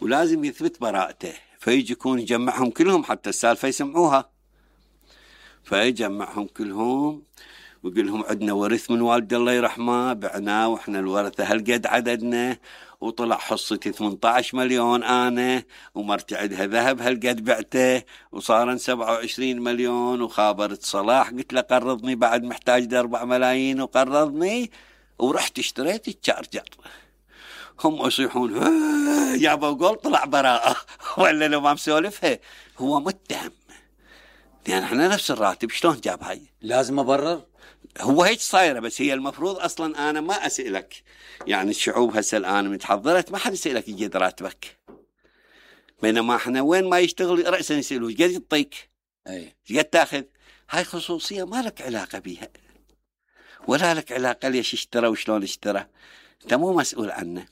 ولازم يثبت براءته، فيجي يكون يجمعهم كلهم حتى السالفة يسمعوها. فيجمعهم كلهم ويقول لهم عندنا ورث من والد الله يرحمه بعناه واحنا الورثة هالقد عددنا، وطلع حصتي ثمانية عشر مليون انا ومرتي عندها ذهب هالقد بعته وصارن سبعة وعشرين مليون. وخابرت صلاح قلت له قرضني بعد محتاج أربع ملايين وقرضني ورحت اشتريت التشارجر. هم يصيحون جابوا قول طلع براءة ولا لو ما مسولفها هو متهم، يعني احنا نفس الراتب شلون جاب هاي؟ لازم أبرر. هو هيك صايرة. بس هي المفروض أصلا أنا ما أسألك، يعني الشعوب هسه الآن متحضرت ما حد يسألك يجد راتبك، بينما احنا وين ما يشتغل رأسا يسألوه قد يعطيك أي قد تاخذ. هاي خصوصية ما لك علاقة بيها ولا لك علاقة ليش اشترى وشلون اشترى، انت مو مسؤول عنه.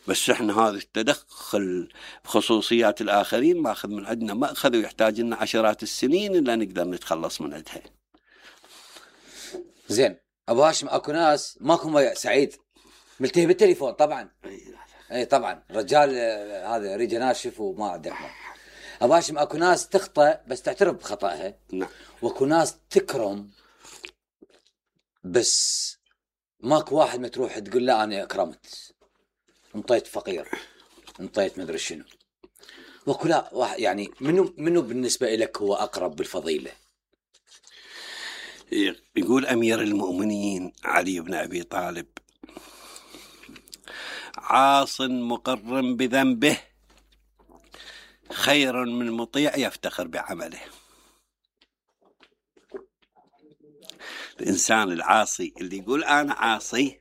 بس احنا هذا التدخل بخصوصيات الآخرين ماخذ من عندنا مأخذ ويحتاج لنا عشرات السنين إلا نقدر نتخلص من عندها. زين ابو هاشم اكو ناس ماكو سعيد ملتهي بالتليفون طبعا. اي طبعا رجال هذا ريجه ناشف وما عنده حمل. ابو هاشم اكو ناس تخطئ بس تعترف بخطأها. نعم. واكو ناس تكرم بس ماكو واحد ما تروح تقول لا انا اكرمت انطيت فقير انطيت مدري شنو. واكو لا واحد يعني منو منو بالنسبه لك هو اقرب بالفضيله؟ يقول أمير المؤمنين علي بن أبي طالب عاص مقر بذنبه خير من مطيع يفتخر بعمله. الإنسان العاصي اللي يقول أنا عاصي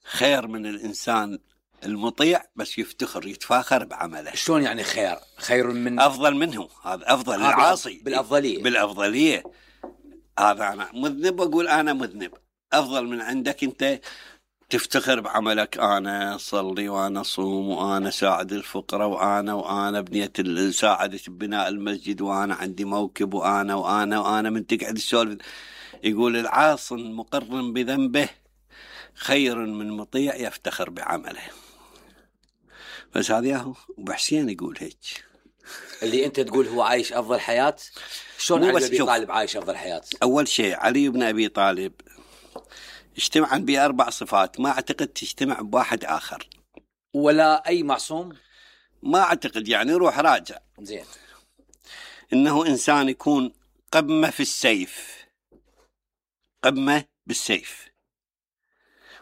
خير من الإنسان المطيع بس يفتخر يتفاخر بعمله. شلون يعني خير؟ خير من أفضل منه، هذا أفضل. العاصي بالأفضلية بالأفضلية هذا أنا مذنب وأقول أنا مذنب أفضل من عندك أنت تفتخر بعملك. أنا صلي وأنا صوم وأنا ساعد الفقراء وأنا وأنا بنيت ساعدة بناء المسجد وأنا عندي موكب وأنا وأنا وأنا من تقعد السولف. يقول العاص مقر بذنبه خير من مطيع يفتخر بعمله. بس هذا هو أبو حسين يقول هيك. اللي أنت تقول هو عايش أفضل حياة. شلون علي بن أبي طالب عايش أفضل حياة؟ أول شيء علي بن أبي طالب اجتمعا بأربع صفات ما أعتقد تجتمع بواحد آخر ولا أي معصوم ما أعتقد، يعني روح راجع. زين. إنه إنسان يكون قمة في السيف، قمة بالسيف،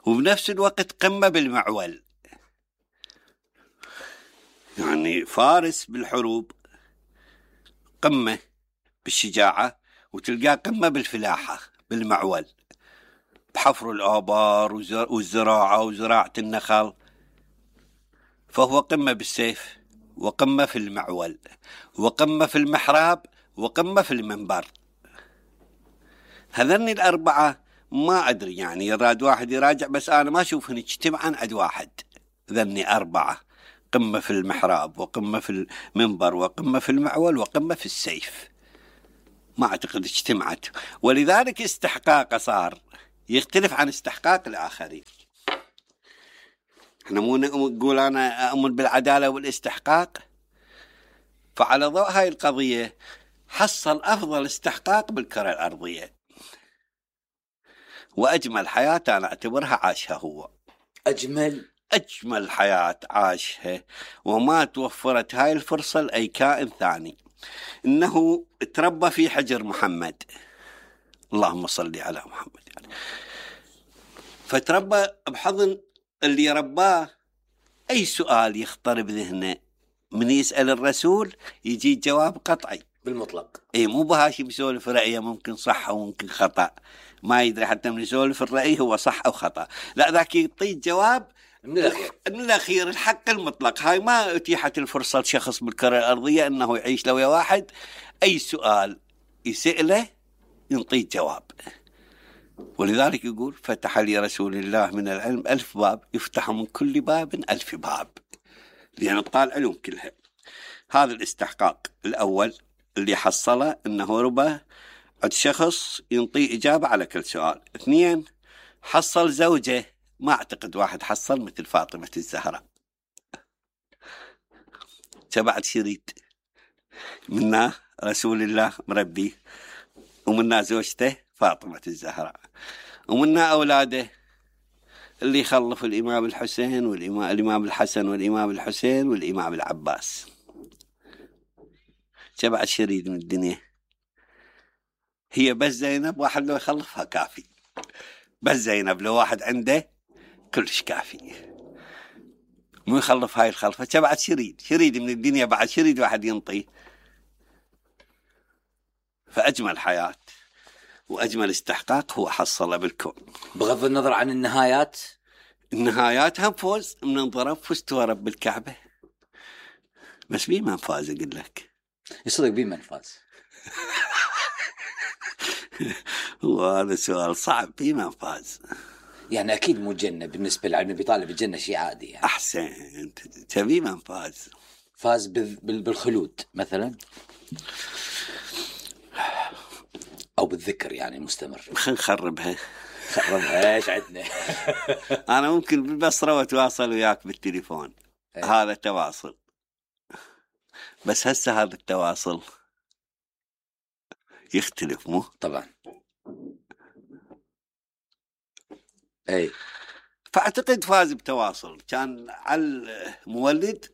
وبنفس الوقت قمة بالمعول، يعني فارس بالحروب قمة بالشجاعة وتلقاه قمة بالفلاحة بالمعول بحفر الآبار والزراعة وزراعة النخل، فهو قمة بالسيف وقمة في المعول وقمة في المحراب وقمة في المنبر. هذني الأربعة ما أدري يعني يراد واحد يراجع، بس أنا ما أشوفهن اجتمعا عند واحد. ذني أربعة قمة في المحراب وقمة في المنبر وقمة في المعول وقمة في السيف. ما أعتقد اجتمعت، ولذلك استحقاقه صار يختلف عن استحقاق الآخرين. احنا مو نقول أنا أؤمن بالعدالة والاستحقاق، فعلى ضوء هاي القضية حصل أفضل استحقاق بالكرة الأرضية، وأجمل حياة أنا أعتبرها عاشها هو. أجمل أجمل حياة عاشها، وما توفرت هاي الفرصة لأي كائن ثاني. إنه تربى في حجر محمد، اللهم صل على محمد يعني. فتربى بحضن اللي رباه، أي سؤال يخطر بذهنه من يسأل الرسول يجي جواب قطعي بالمطلق. اي مو بهاشي بيسولف رأيه ممكن صح وممكن خطأ، ما يدري حتى من يسولف الرأي هو صح أو خطأ، لا ذاك يعطي جواب من الأخير من الأخير الحق المطلق. هاي ما أتيحت الفرصة لشخص بالكرة الأرضية أنه يعيش لو واحد أي سؤال يسأله ينطيه جواب. ولذلك يقول فتح لي رسول الله من العلم ألف باب، يفتح من كل باب ألف باب، لأن طال علوم كلها. هذا الاستحقاق الأول اللي حصله أنه ربى عند شخص ينطي إجابة على كل سؤال. اثنين، حصل زوجة، ما أعتقد واحد حصل مثل فاطمة الزهراء. تبعت شريط منا رسول الله مربي، ومنا زوجته فاطمة الزهراء، ومنا أولاده اللي يخلف الإمام الحسين والإمام الإمام الحسن والإمام الحسين والإمام العباس. تبعت شريط من الدنيا. هي بس زينب واحد لو يخلفها كافي، بس زينب لو واحد عنده كلش كافي، مو يخلف هاي الخلفة. تبعت شريد شريد من الدنيا، بعد شريد واحد ينطي. فأجمل حياة وأجمل استحقاق هو حصله بالكون، بغض النظر عن النهايات. النهايات هم فوز، من انضرب فزت ورب بالكعبة، بس بيه من فاز أقول لك. يصدق بيه من فاز؟ وهذا سؤال صعب. بيه من فاز يعني أكيد مو جنة بالنسبة لعلم بيطالب الجنة شيء عادي يعني. أحسن، تبي من فاز؟ فاز بالخلود مثلا، أو بالذكر يعني مستمر. خلينا نخربها خربها ايش عندنا. أنا ممكن بالبصرة وأتواصل وياك بالتليفون. أيه. هذا تواصل، بس هسه هذا التواصل يختلف مو طبعا. اي فأعتقد فاز بتواصل، كان على المولد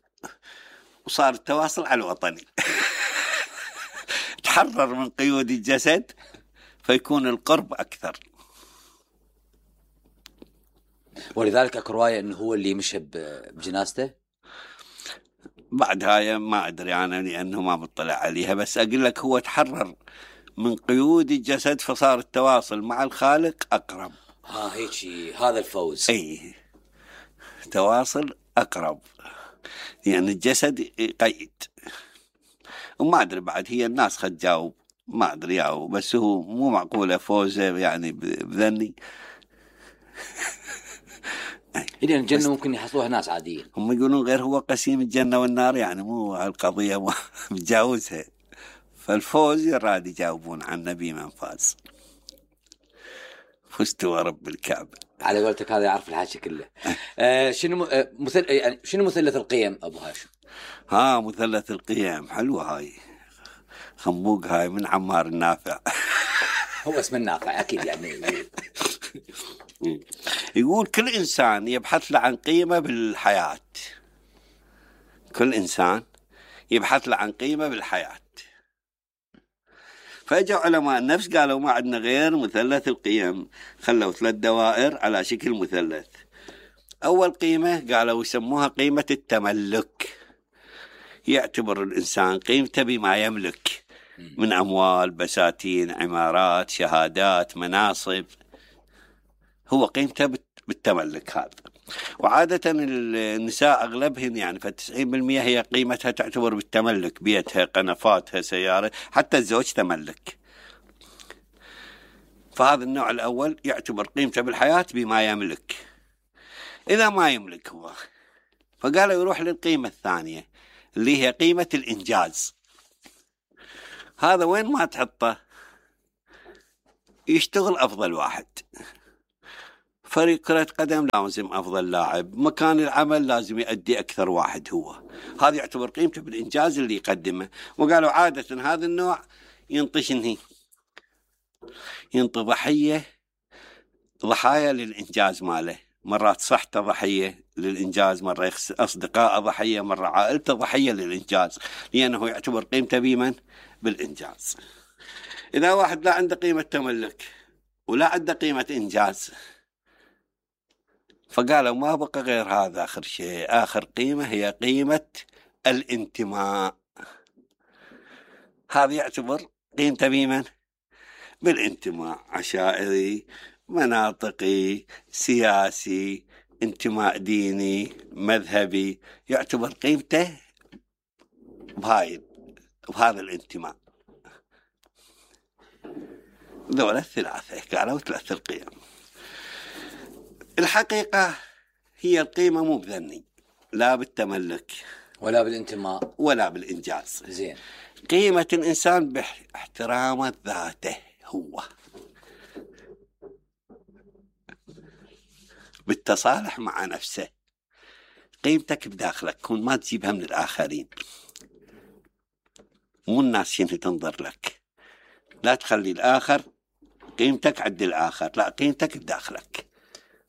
وصار التواصل على الوطني. تحرر من قيود الجسد فيكون القرب أكثر. ولذلك اكو رواية انه هو اللي مشى بجنازته. بعد هاي ما أدري أنا لأنه ما بطلع عليها، بس أقول لك هو تحرر من قيود الجسد فصار التواصل مع الخالق أقرب. ها هيك هذا الفوز. أي تواصل أقرب، لأن يعني الجسد يقيد. وما أدري بعد هي الناس خد جاوب ما أدري ياو، بس هو مو معقولة فوزه يعني بذني. إذا الجنة ممكن يحصلوها ناس عاديين، هم يقولون غير هو قسيم الجنة والنار، يعني مو القضية متجاوزها. فالفوز يراد يجاوبون عن نبي من فاز. فزت ورب الكعبة. على قولتك هذا يعرف الحاشي كله. آه شنو آه مثل يعني شنو مثلث القيم أبو هاشم؟ ها مثلث القيم حلوة هاي، خنبوق هاي من عمار النافع. هو اسم النافع أكيد يعني. يقول كل إنسان يبحث له عن قيمة بالحياة، كل إنسان يبحث له عن قيمة بالحياة. فاجوا علماء النفس قالوا ما عندنا غير مثلث القيم، خلوا ثلاث دوائر على شكل مثلث. أول قيمة قالوا يسموها قيمة التملك، يعتبر الإنسان قيمته بما يملك من أموال، بساتين، عمارات، شهادات، مناصب، هو قيمته بالتملك هذا. وعادة النساء أغلبهن يعني فتسعين بالمئة هي قيمتها تعتبر بالتملك، بيتها، قنفاتها، سيارة، حتى الزوج تملك. فهذا النوع الأول يعتبر قيمته بالحياة بما يملك. إذا ما يملك هو فقالوا يروح للقيمة الثانية اللي هي قيمة الإنجاز. هذا وين ما تحطه يشتغل أفضل واحد. فريق كرة قدم لازم أفضل لاعب. مكان العمل لازم يؤدي أكثر واحد هو. هذا يعتبر قيمته بالإنجاز اللي يقدمه. وقالوا عادة هذا النوع ينطي شنهي ينطي ضحية ضحايا للإنجاز ماله. مرات صحته ضحية للإنجاز، مرة أصدقاء ضحية، مرة عائلته ضحية للإنجاز، لأنه يعتبر قيمته بمن؟ بالإنجاز. إذا واحد لا عنده قيمة تملك ولا عنده قيمة إنجاز، فقالوا ما بقى غير هذا آخر شيء. آخر قيمة هي قيمة الانتماء. هذا يعتبر قيمته بمن؟ بالانتماء. عشائري، مناطقي، سياسي، انتماء ديني، مذهبي، يعتبر قيمته بهاي بهذا الانتماء. ذولا الثلاثة قالوا ثلاث القيم. الحقيقة هي القيمة مو بذني، لا بالتملك ولا بالانتماء ولا بالإنجاز. زين. قيمة الإنسان باحترام ذاته هو، بالتصالح مع نفسه. قيمتك بداخلك، كون ما تجيبها من الآخرين، مو الناس شنو تنظر لك. لا تخلي الآخر قيمتك عند الآخر، لا، قيمتك بداخلك.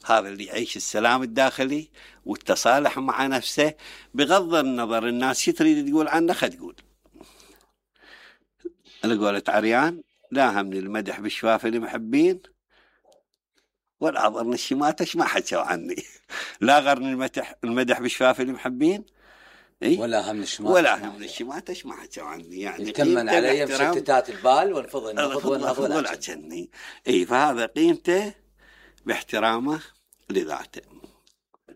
هذا اللي يعيش السلام الداخلي والتصالح مع نفسه، بغض النظر الناس شو تريد تقول عنه. خد تقول اللي قولت عريان: لا همني المدح بشفاف المحبين ولا ضرني الشماتش ما حكوا عني. لا غرني المدح المدح بشفاف المحبين إيه؟ ولا هم الشماتش ولا هم الشماتش ما حكوا عني. يعني يتمن علي بشتتات البال ونفضل نفضل نفضل عشاني. اي فهذا قيمته باحترامه لذاته.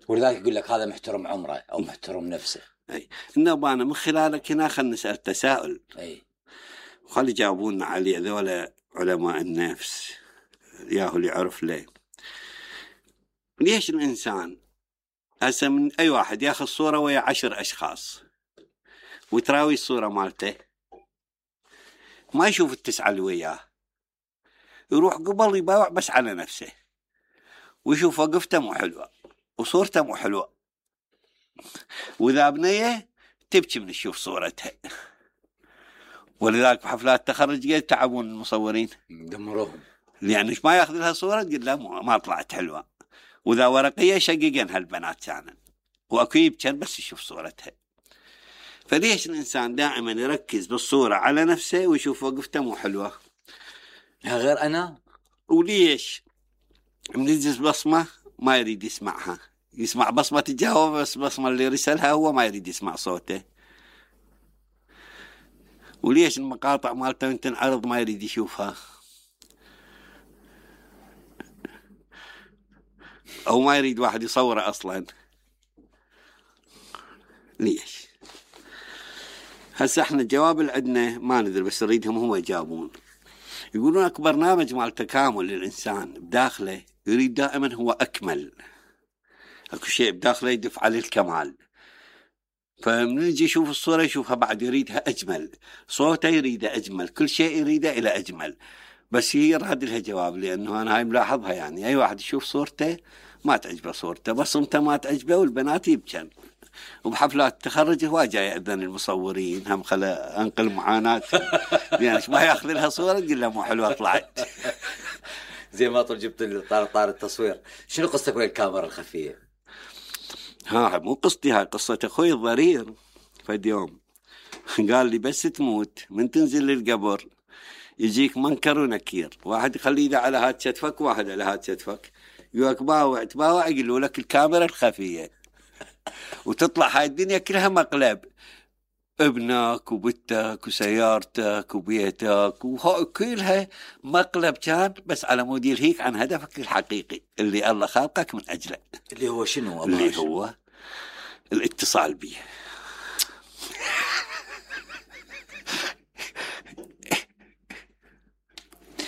ولذلك يقول لك هذا محترم عمره او محترم نفسه. اي انه انا من خلالك هنا خلينا نسال تساؤل. اي خلي يجاوبونا عليه ذولا علماء النفس، ياهو اللي يعرف ليه. ليش الانسان هسه من اي واحد ياخذ صوره ويا عشر اشخاص وتراوي الصوره مالته، ما يشوف التسعه اللي وياه، يروح قبل يباوع بس على نفسه ويشوف وقفته مو حلوه وصورته مو حلوه، واذا بنيه تبكي من تشوف صورتها. ولذلك بحفلات التخرج قد تعبون المصورين دمروهم، يعني ايش ما ياخذ لها صوره تقول لا ما طلعت حلوه، واذا ورقيه شققن هالبنات كانن واكيد كان بس يشوف صورتها. فليش الانسان دائما يركز بالصوره على نفسه ويشوف وقفته مو حلوه؟ غير انا. وليش من يجلس بصمه ما يريد يسمعها، يسمع بصمه تجاوب بس بصمه اللي يرسلها هو ما يريد يسمع صوته؟ وليش المقاطع مالته تنعرض ما يريد يشوفها؟ أو ما يريد واحد يصوره أصلا؟ ليش؟ هسه احنا الجواب اللي عندنا ما ندري، بس نريدهم هم يجاوبون. يقولون أكبر برنامج مال تكامل للإنسان بداخله يريد دائما هو أكمل، أكو شيء بداخله يدف على الكمال. فمن يجي يشوف الصورة يشوفها بعد يريدها أجمل، صوته يريده أجمل، كل شيء يريده إلى أجمل. بس هي راد لها جواب، لأنه أنا هاي ملاحظها. يعني أي واحد يشوف صورته ما تعجبه صورته، بصمته ما تعجبه، والبنات يبكن. وبحفلات التخرج هو جاي يأذن المصورين هم خلا أنقل معاناة يعني ما يأخذ لها صورة تقول له مو حلوة طلعت. زي ما طول جبت طار طار التصوير. شنو قصتك ويا الكاميرا الخفية؟ ها مو قصتي، هاي قصة أخوي الضرير. فد يوم قال لي بس تموت من تنزل للقبر يجيك منكر ونكير، واحد يخلي يده على هات شتفك واحد على هات شتفك، يقولك باوع تباوع يقولوا لك الكاميرا الخفية، وتطلع هاي الدنيا كلها مقلب، ابنك وبنتك وسيارتك وبيتك وكلها مقلب كان بس على مود يلهيك عن هدفك الحقيقي اللي الله خلقك من أجله، اللي هو شنو؟ اللي هو الاتصال بيه.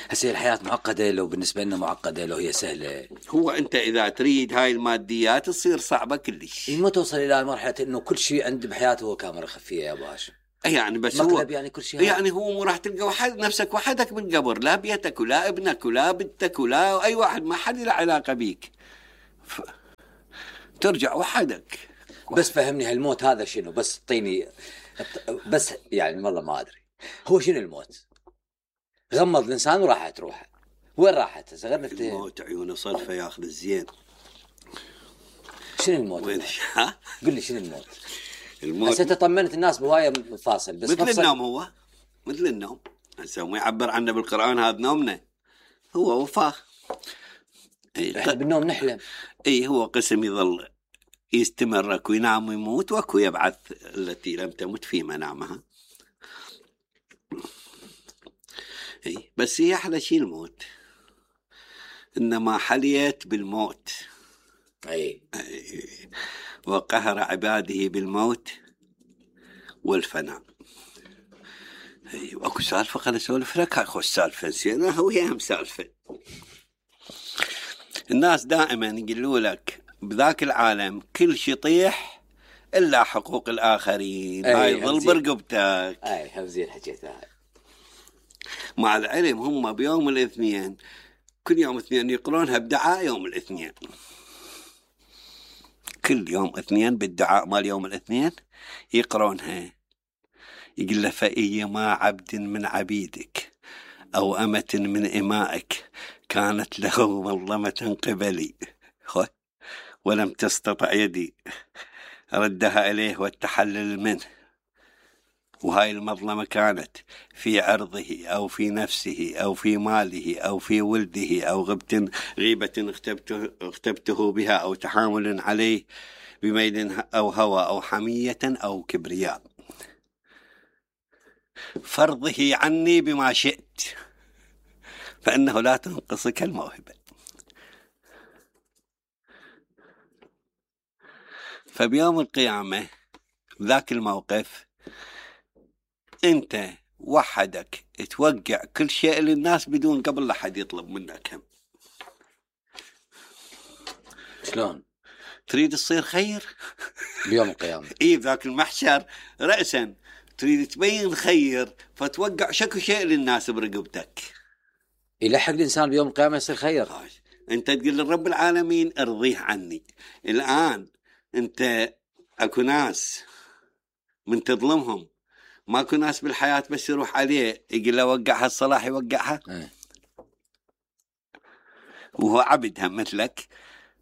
هسه الحياة معقدة، لو بالنسبة لنا معقدة لو هي سهلة. هو أنت إذا تريد هاي الماديات تصير صعبة كلش. ما توصل إلى مرحلة إنه كل شيء عند بحياته هو كاميرا خفية يا باش. يعني بس هو مقلب يعني كل شيء هذا. يعني هو مو راح تلقى واحد نفسك وحدك بالقبر، لا بيتك ولا ابنك ولا بنتك ولا اي واحد، ما حد له علاقه بيك، ف... ترجع وحدك. بس فهمني هالموت هذا شنو؟ بس اعطيني بس يعني والله ما ادري هو شنو الموت. غمض الانسان وراحت روحه، وين راحت؟ صغرنا في الموت عيونه صرفه ياخذ الزين. شنو الموت؟ وين ها؟ قل لي شنو الموت؟ الموت هسه طمنت الناس بهوايه مفاصل، بس مثل مفصل... النوم، هو مثل النوم. هسه ما يعبر عنه بالقرآن هذا نومنا، هو وفاه. احنا ق... بالنوم نحلم. اي هو قسم يظل يستمر، اكو ينام ويموت، واكو يبعث التي لم تمت في منامها. اي بس هي احلى شيء الموت، انما حليت بالموت. اي وقهر عباده بالموت والفناء. اي واكو سالفه خل اسولف لك، اخو السالفه نسيناها وهي هم سالفه. الناس دائما يقولوا لك بذاك العالم كل شيء يطيح الا حقوق الاخرين، هاي ظل برقبتك. اي هم زين حكيتها. مع العلم هم بيوم الاثنين كل يوم اثنين يقرونها بدعاء يوم الاثنين، كل يوم اثنين بالدعاء مال يوم الاثنين يقرونها. يقول له فأيما عبد من عبيدك أو أمة من إمائك كانت له مظلمة قبلي ولم تستطع يدي ردها إليه والتحلل منه، وهاي المظلمة كانت في عرضه أو في نفسه أو في ماله أو في ولده أو غبت غيبة اغتبته, اغتبته بها أو تحامل عليه بميل أو هوى أو حمية أو كبرياء، فرضه عني بما شئت فإنه لا تنقصك الموهبة. فبيوم القيامة ذاك الموقف أنت وحدك توقع كل شيء للناس بدون قبل لا حد يطلب منك هم. شلون تريد تصير خير بيوم القيامة؟ إيه ذاك المحشر رأسا تريد تبين خير فتوقع شكو شيء للناس برقبتك. يلحق الإنسان بيوم القيامة يصير خير. أنت تقول للرب العالمين ارضيه عني. الآن أنت أكو ناس من تظلمهم، ماكو ناس بالحياة بس يروح عليه يقول له وقعها الصلاح يوقعها اه. وهو عبد هم مثلك،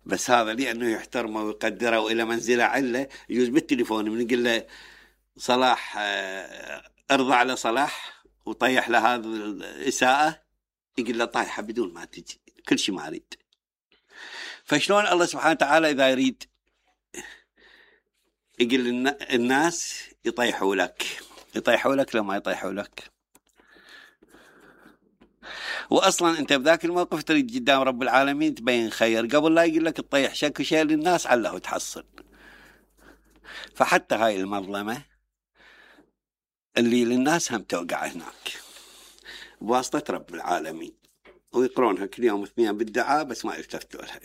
بس هذا لأنه يحترمه ويقدره وإلى منزله عله يجوز بالتليفون من يقول له صلاح ارضى على صلاح وطيح له هذا الإساءة، يقول له طايحة بدون ما تجي كل شيء ما أريد. فشلون الله سبحانه وتعالى إذا يريد يقول الناس يطيحوا لك، يطيحوا لك لما يطيحوا لك. وأصلا أنت بذاك الموقف تريد قدام رب العالمين تبين خير قبل لا يقول لك تطيح شك شيء للناس عله تحصل. فحتى هاي المظلمة اللي للناس هم توقع هناك بواسطة رب العالمين، ويقرونها كل يوم اثنين بالدعاء بس ما يلتفتوا لها.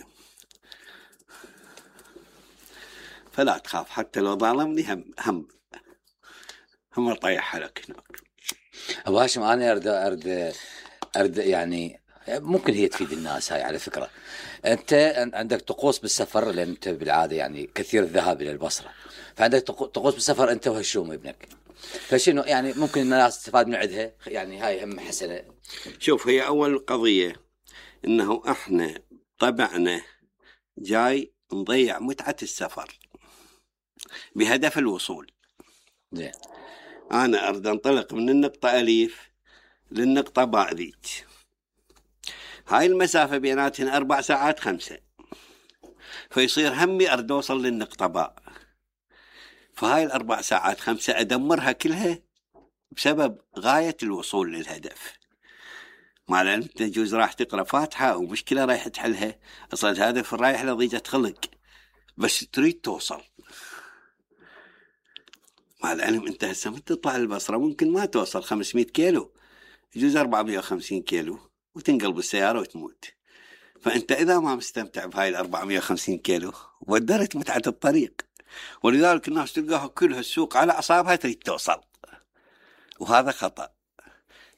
فلا تخاف حتى لو ظالمني هم هم هم طيحها لك هناك. أبو هاشم أنا أرد أرد أرد يعني ممكن هي تفيد الناس هاي على فكرة. أنت عندك طقوس بالسفر لأن أنت بالعادة يعني كثير الذهاب إلى البصرة، فعندك طقوس بالسفر أنت وهشوم ابنك، فشنو يعني ممكن الناس تستفاد من عندها؟ يعني هاي هم حسنة. شوف هي أول قضية إنه إحنا طبعنا جاي نضيع متعة السفر بهدف الوصول. زين. أنا أريد أنطلق من النقطة أليف للنقطة باء ذيك، هاي المسافة بيناتهن أربع ساعات خمسة، فيصير همي أريد أوصل للنقطة باء، فهاي الأربع ساعات خمسة أدمرها كلها بسبب غاية الوصول للهدف. مع العلم تجوز راح تقرأ فاتحة ومشكلة رايح تحلها، أصلا الهدف رايح لضيجة خلق بس تريد توصل. مع العلم أنت هسه من تطلع البصرة ممكن ما توصل خمسمائة كيلو، يجوز أربعمائة وخمسين كيلو وتنقلب السيارة وتموت. فأنت إذا ما مستمتع بهاي الأربعمائة وخمسين كيلو ودرت متعة الطريق، ولذلك الناس تلقاها كلها السوق على أعصابها تريد توصل. وهذا خطأ،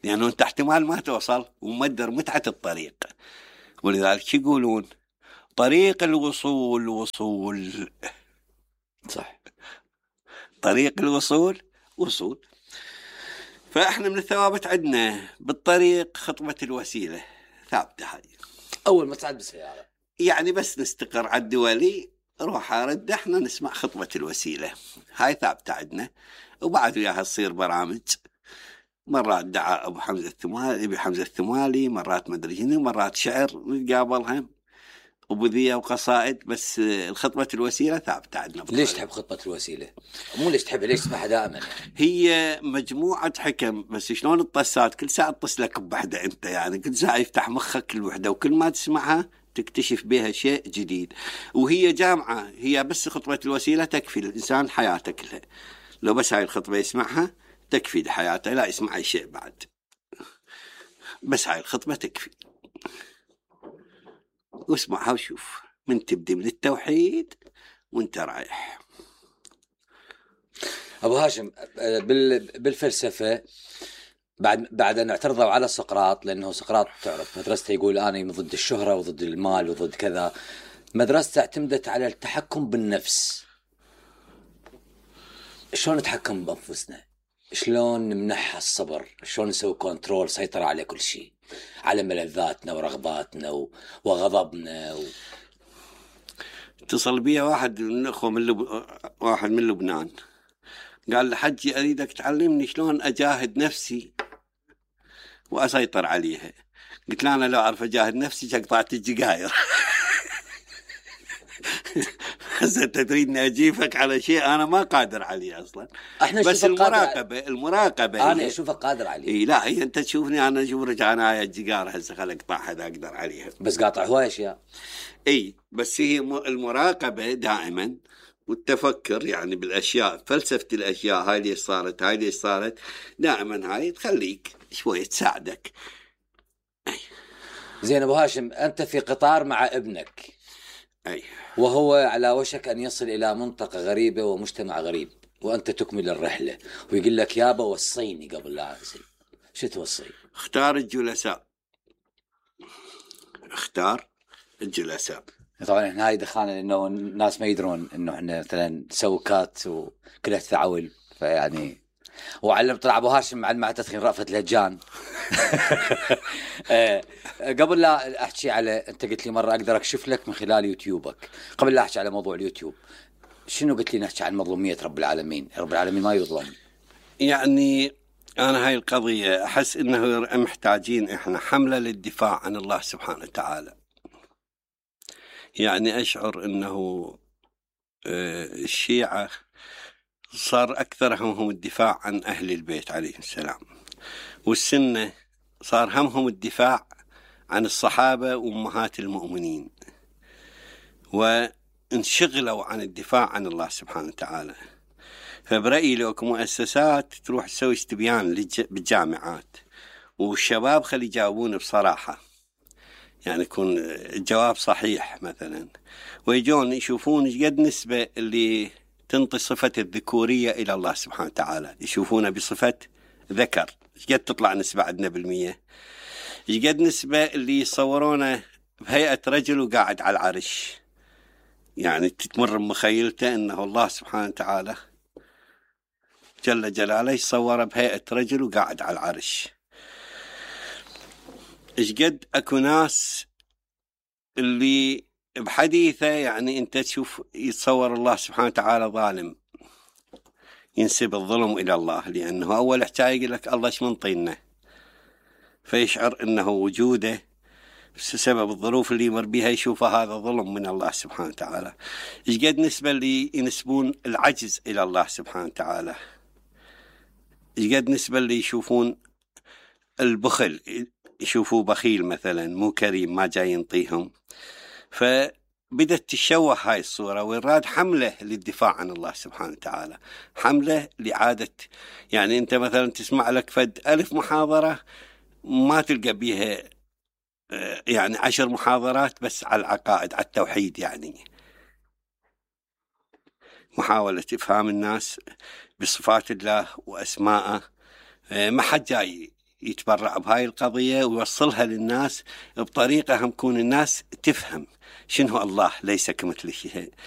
لأنه أنت احتمال ما توصل ومدر متعة الطريق. ولذلك شو يقولون؟ طريق الوصول وصول. صح. طريق الوصول وصول. فإحنا من الثوابت عندنا بالطريق خطبة الوسيلة ثابتة هاي. أول ما تصعد بالسيارة يعني بس نستقر على الدولي روح أرد احنا نسمع خطبة الوسيلة هاي ثابتة عندنا. وبعد وياها تصير برامج، مرات دعاء أبو حمزة الثمالي أبي حمزة الثمالي، مرات مدري شنو، مرات شعر نتقابلها وبذية وقصائد، بس الخطبة الوسيلة ثابتة عندنا. ليش تحب خطبة الوسيلة؟ مو ليش تحبها، ليش تسمعها دائما؟ هي مجموعة حكم، بس شلون الطسات كل ساعة تطس لك بوحدة أنت، يعني كل ساعة يفتح مخك الوحدة، وكل ما تسمعها تكتشف بها شيء جديد. وهي جامعة، هي بس خطبة الوسيلة تكفي الإنسان حياته كلها. لو بس هاي الخطبة يسمعها تكفي لحياته، لا يسمع أي شيء بعد، بس هاي الخطبة تكفي. واسمعها وشوف من تبدي من التوحيد وانت رايح. أبو هاشم، بالفلسفة بعد بعد أن اعترضوا على سقراط، لأنه سقراط تعرف مدرسته يقول أنا ضد الشهرة وضد المال وضد كذا، مدرسته اعتمدت على التحكم بالنفس. شلون نتحكم بأنفسنا؟ شلون نمنحها الصبر؟ شلون نسوي كنترول، سيطرة على كل شيء، على ملذاتنا ورغباتنا وغضبنا و... اتصل بي واحد من الأخوة من لب... واحد من لبنان، قال لي حجي أريدك تعلمني شلون أجاهد نفسي وأسيطر عليها. قلت له أنا لو أعرف أجاهد نفسي قطعت الجقاير. هسه أنت تريدني أجيفك على شيء أنا ما قادر عليه أصلا. بس المراقبة قادر... المراقبة أنا أشوفك قادر عليه. إيه لا هي أنت تشوفني أنا أشوف رجع أنا هاي الجقار هسه خل أقطع هذا أقدر عليها، بس قاطع هواي أشياء. إيه بس هي المراقبة دائما والتفكر يعني بالأشياء، فلسفة الأشياء هاي اللي صارت هاي اللي صارت دائما هاي تخليك شوية تساعدك. زين أبو هاشم، أنت في قطار مع ابنك أي. وهو على وشك أن يصل إلى منطقة غريبة ومجتمع غريب، وأنت تكمل الرحلة، ويقول لك يابا وصيني قبل لا أنزل، شو توصي؟ اختار الجلساء، اختار الجلساء. طبعا احنا هاي دخلنا لأنه الناس ما يدرون إنه احنا مثلا سوكات وكلها تعول، فيعني وعلم طلع أبو هاشم معلم مع تدخين رأفت الهجان. قبل لا أحكي على، أنت قلت لي مرة أقدر أكشف لك من خلال يوتيوبك، قبل لا أحكي على موضوع اليوتيوب شنو قلت لي نحكي عن مظلومية رب العالمين؟ رب العالمين ما يظلم. يعني أنا هاي القضية أحس إنه محتاجين إحنا حملة للدفاع عن الله سبحانه وتعالى. يعني أشعر إنه الشيعة صار أكثر همهم الدفاع عن أهل البيت عليهم السلام، والسنة صار همهم الدفاع عن الصحابة وأمهات المؤمنين، وانشغلوا عن الدفاع عن الله سبحانه وتعالى. فبرأيي لو كمؤسسات تروح تسوي استبيان بالجامعات والشباب خلي يجاوبون بصراحة، يعني يكون الجواب صحيح مثلا، ويجون يشوفون ايش قد نسبة اللي تنطي صفة الذكورية إلى الله سبحانه وتعالى، يشوفونه بصفة ذكر ايش قد تطلع نسبة عندنا بالمية، ايش قد نسبة اللي يصورونه بهيئة رجل وقاعد على العرش، يعني تتمر بمخيلته أنه الله سبحانه وتعالى جل جلاله يصور بهيئة رجل وقاعد على العرش. ايش قد اكو ناس اللي بحديثه يعني انت تشوف يتصور الله سبحانه وتعالى ظالم، ينسب الظلم الى الله، لانه اول حكايه يقول لك الله ايش منطينا، فيشعر انه وجوده بسبب الظروف اللي يمر بها يشوف هذا ظلم من الله سبحانه وتعالى. ايش قد نسبه اللي ينسبون العجز الى الله سبحانه وتعالى، ايش قد نسبه اللي يشوفون البخل، يشوفوه بخيل مثلا مو كريم ما جاي ينطيهم. فبدت تشوه هاي الصورة، ويراد حملة للدفاع عن الله سبحانه وتعالى، حملة لعادة، يعني انت مثلا تسمع لك فد ألف محاضرة ما تلقى بيها يعني عشر محاضرات بس على العقائد على التوحيد، يعني محاولة إفهام الناس بصفات الله وأسماءه ما حد جاي يتبرع بهاي القضية ويوصلها للناس بطريقة هم كون الناس تفهم شنو الله ليس كمثل شيء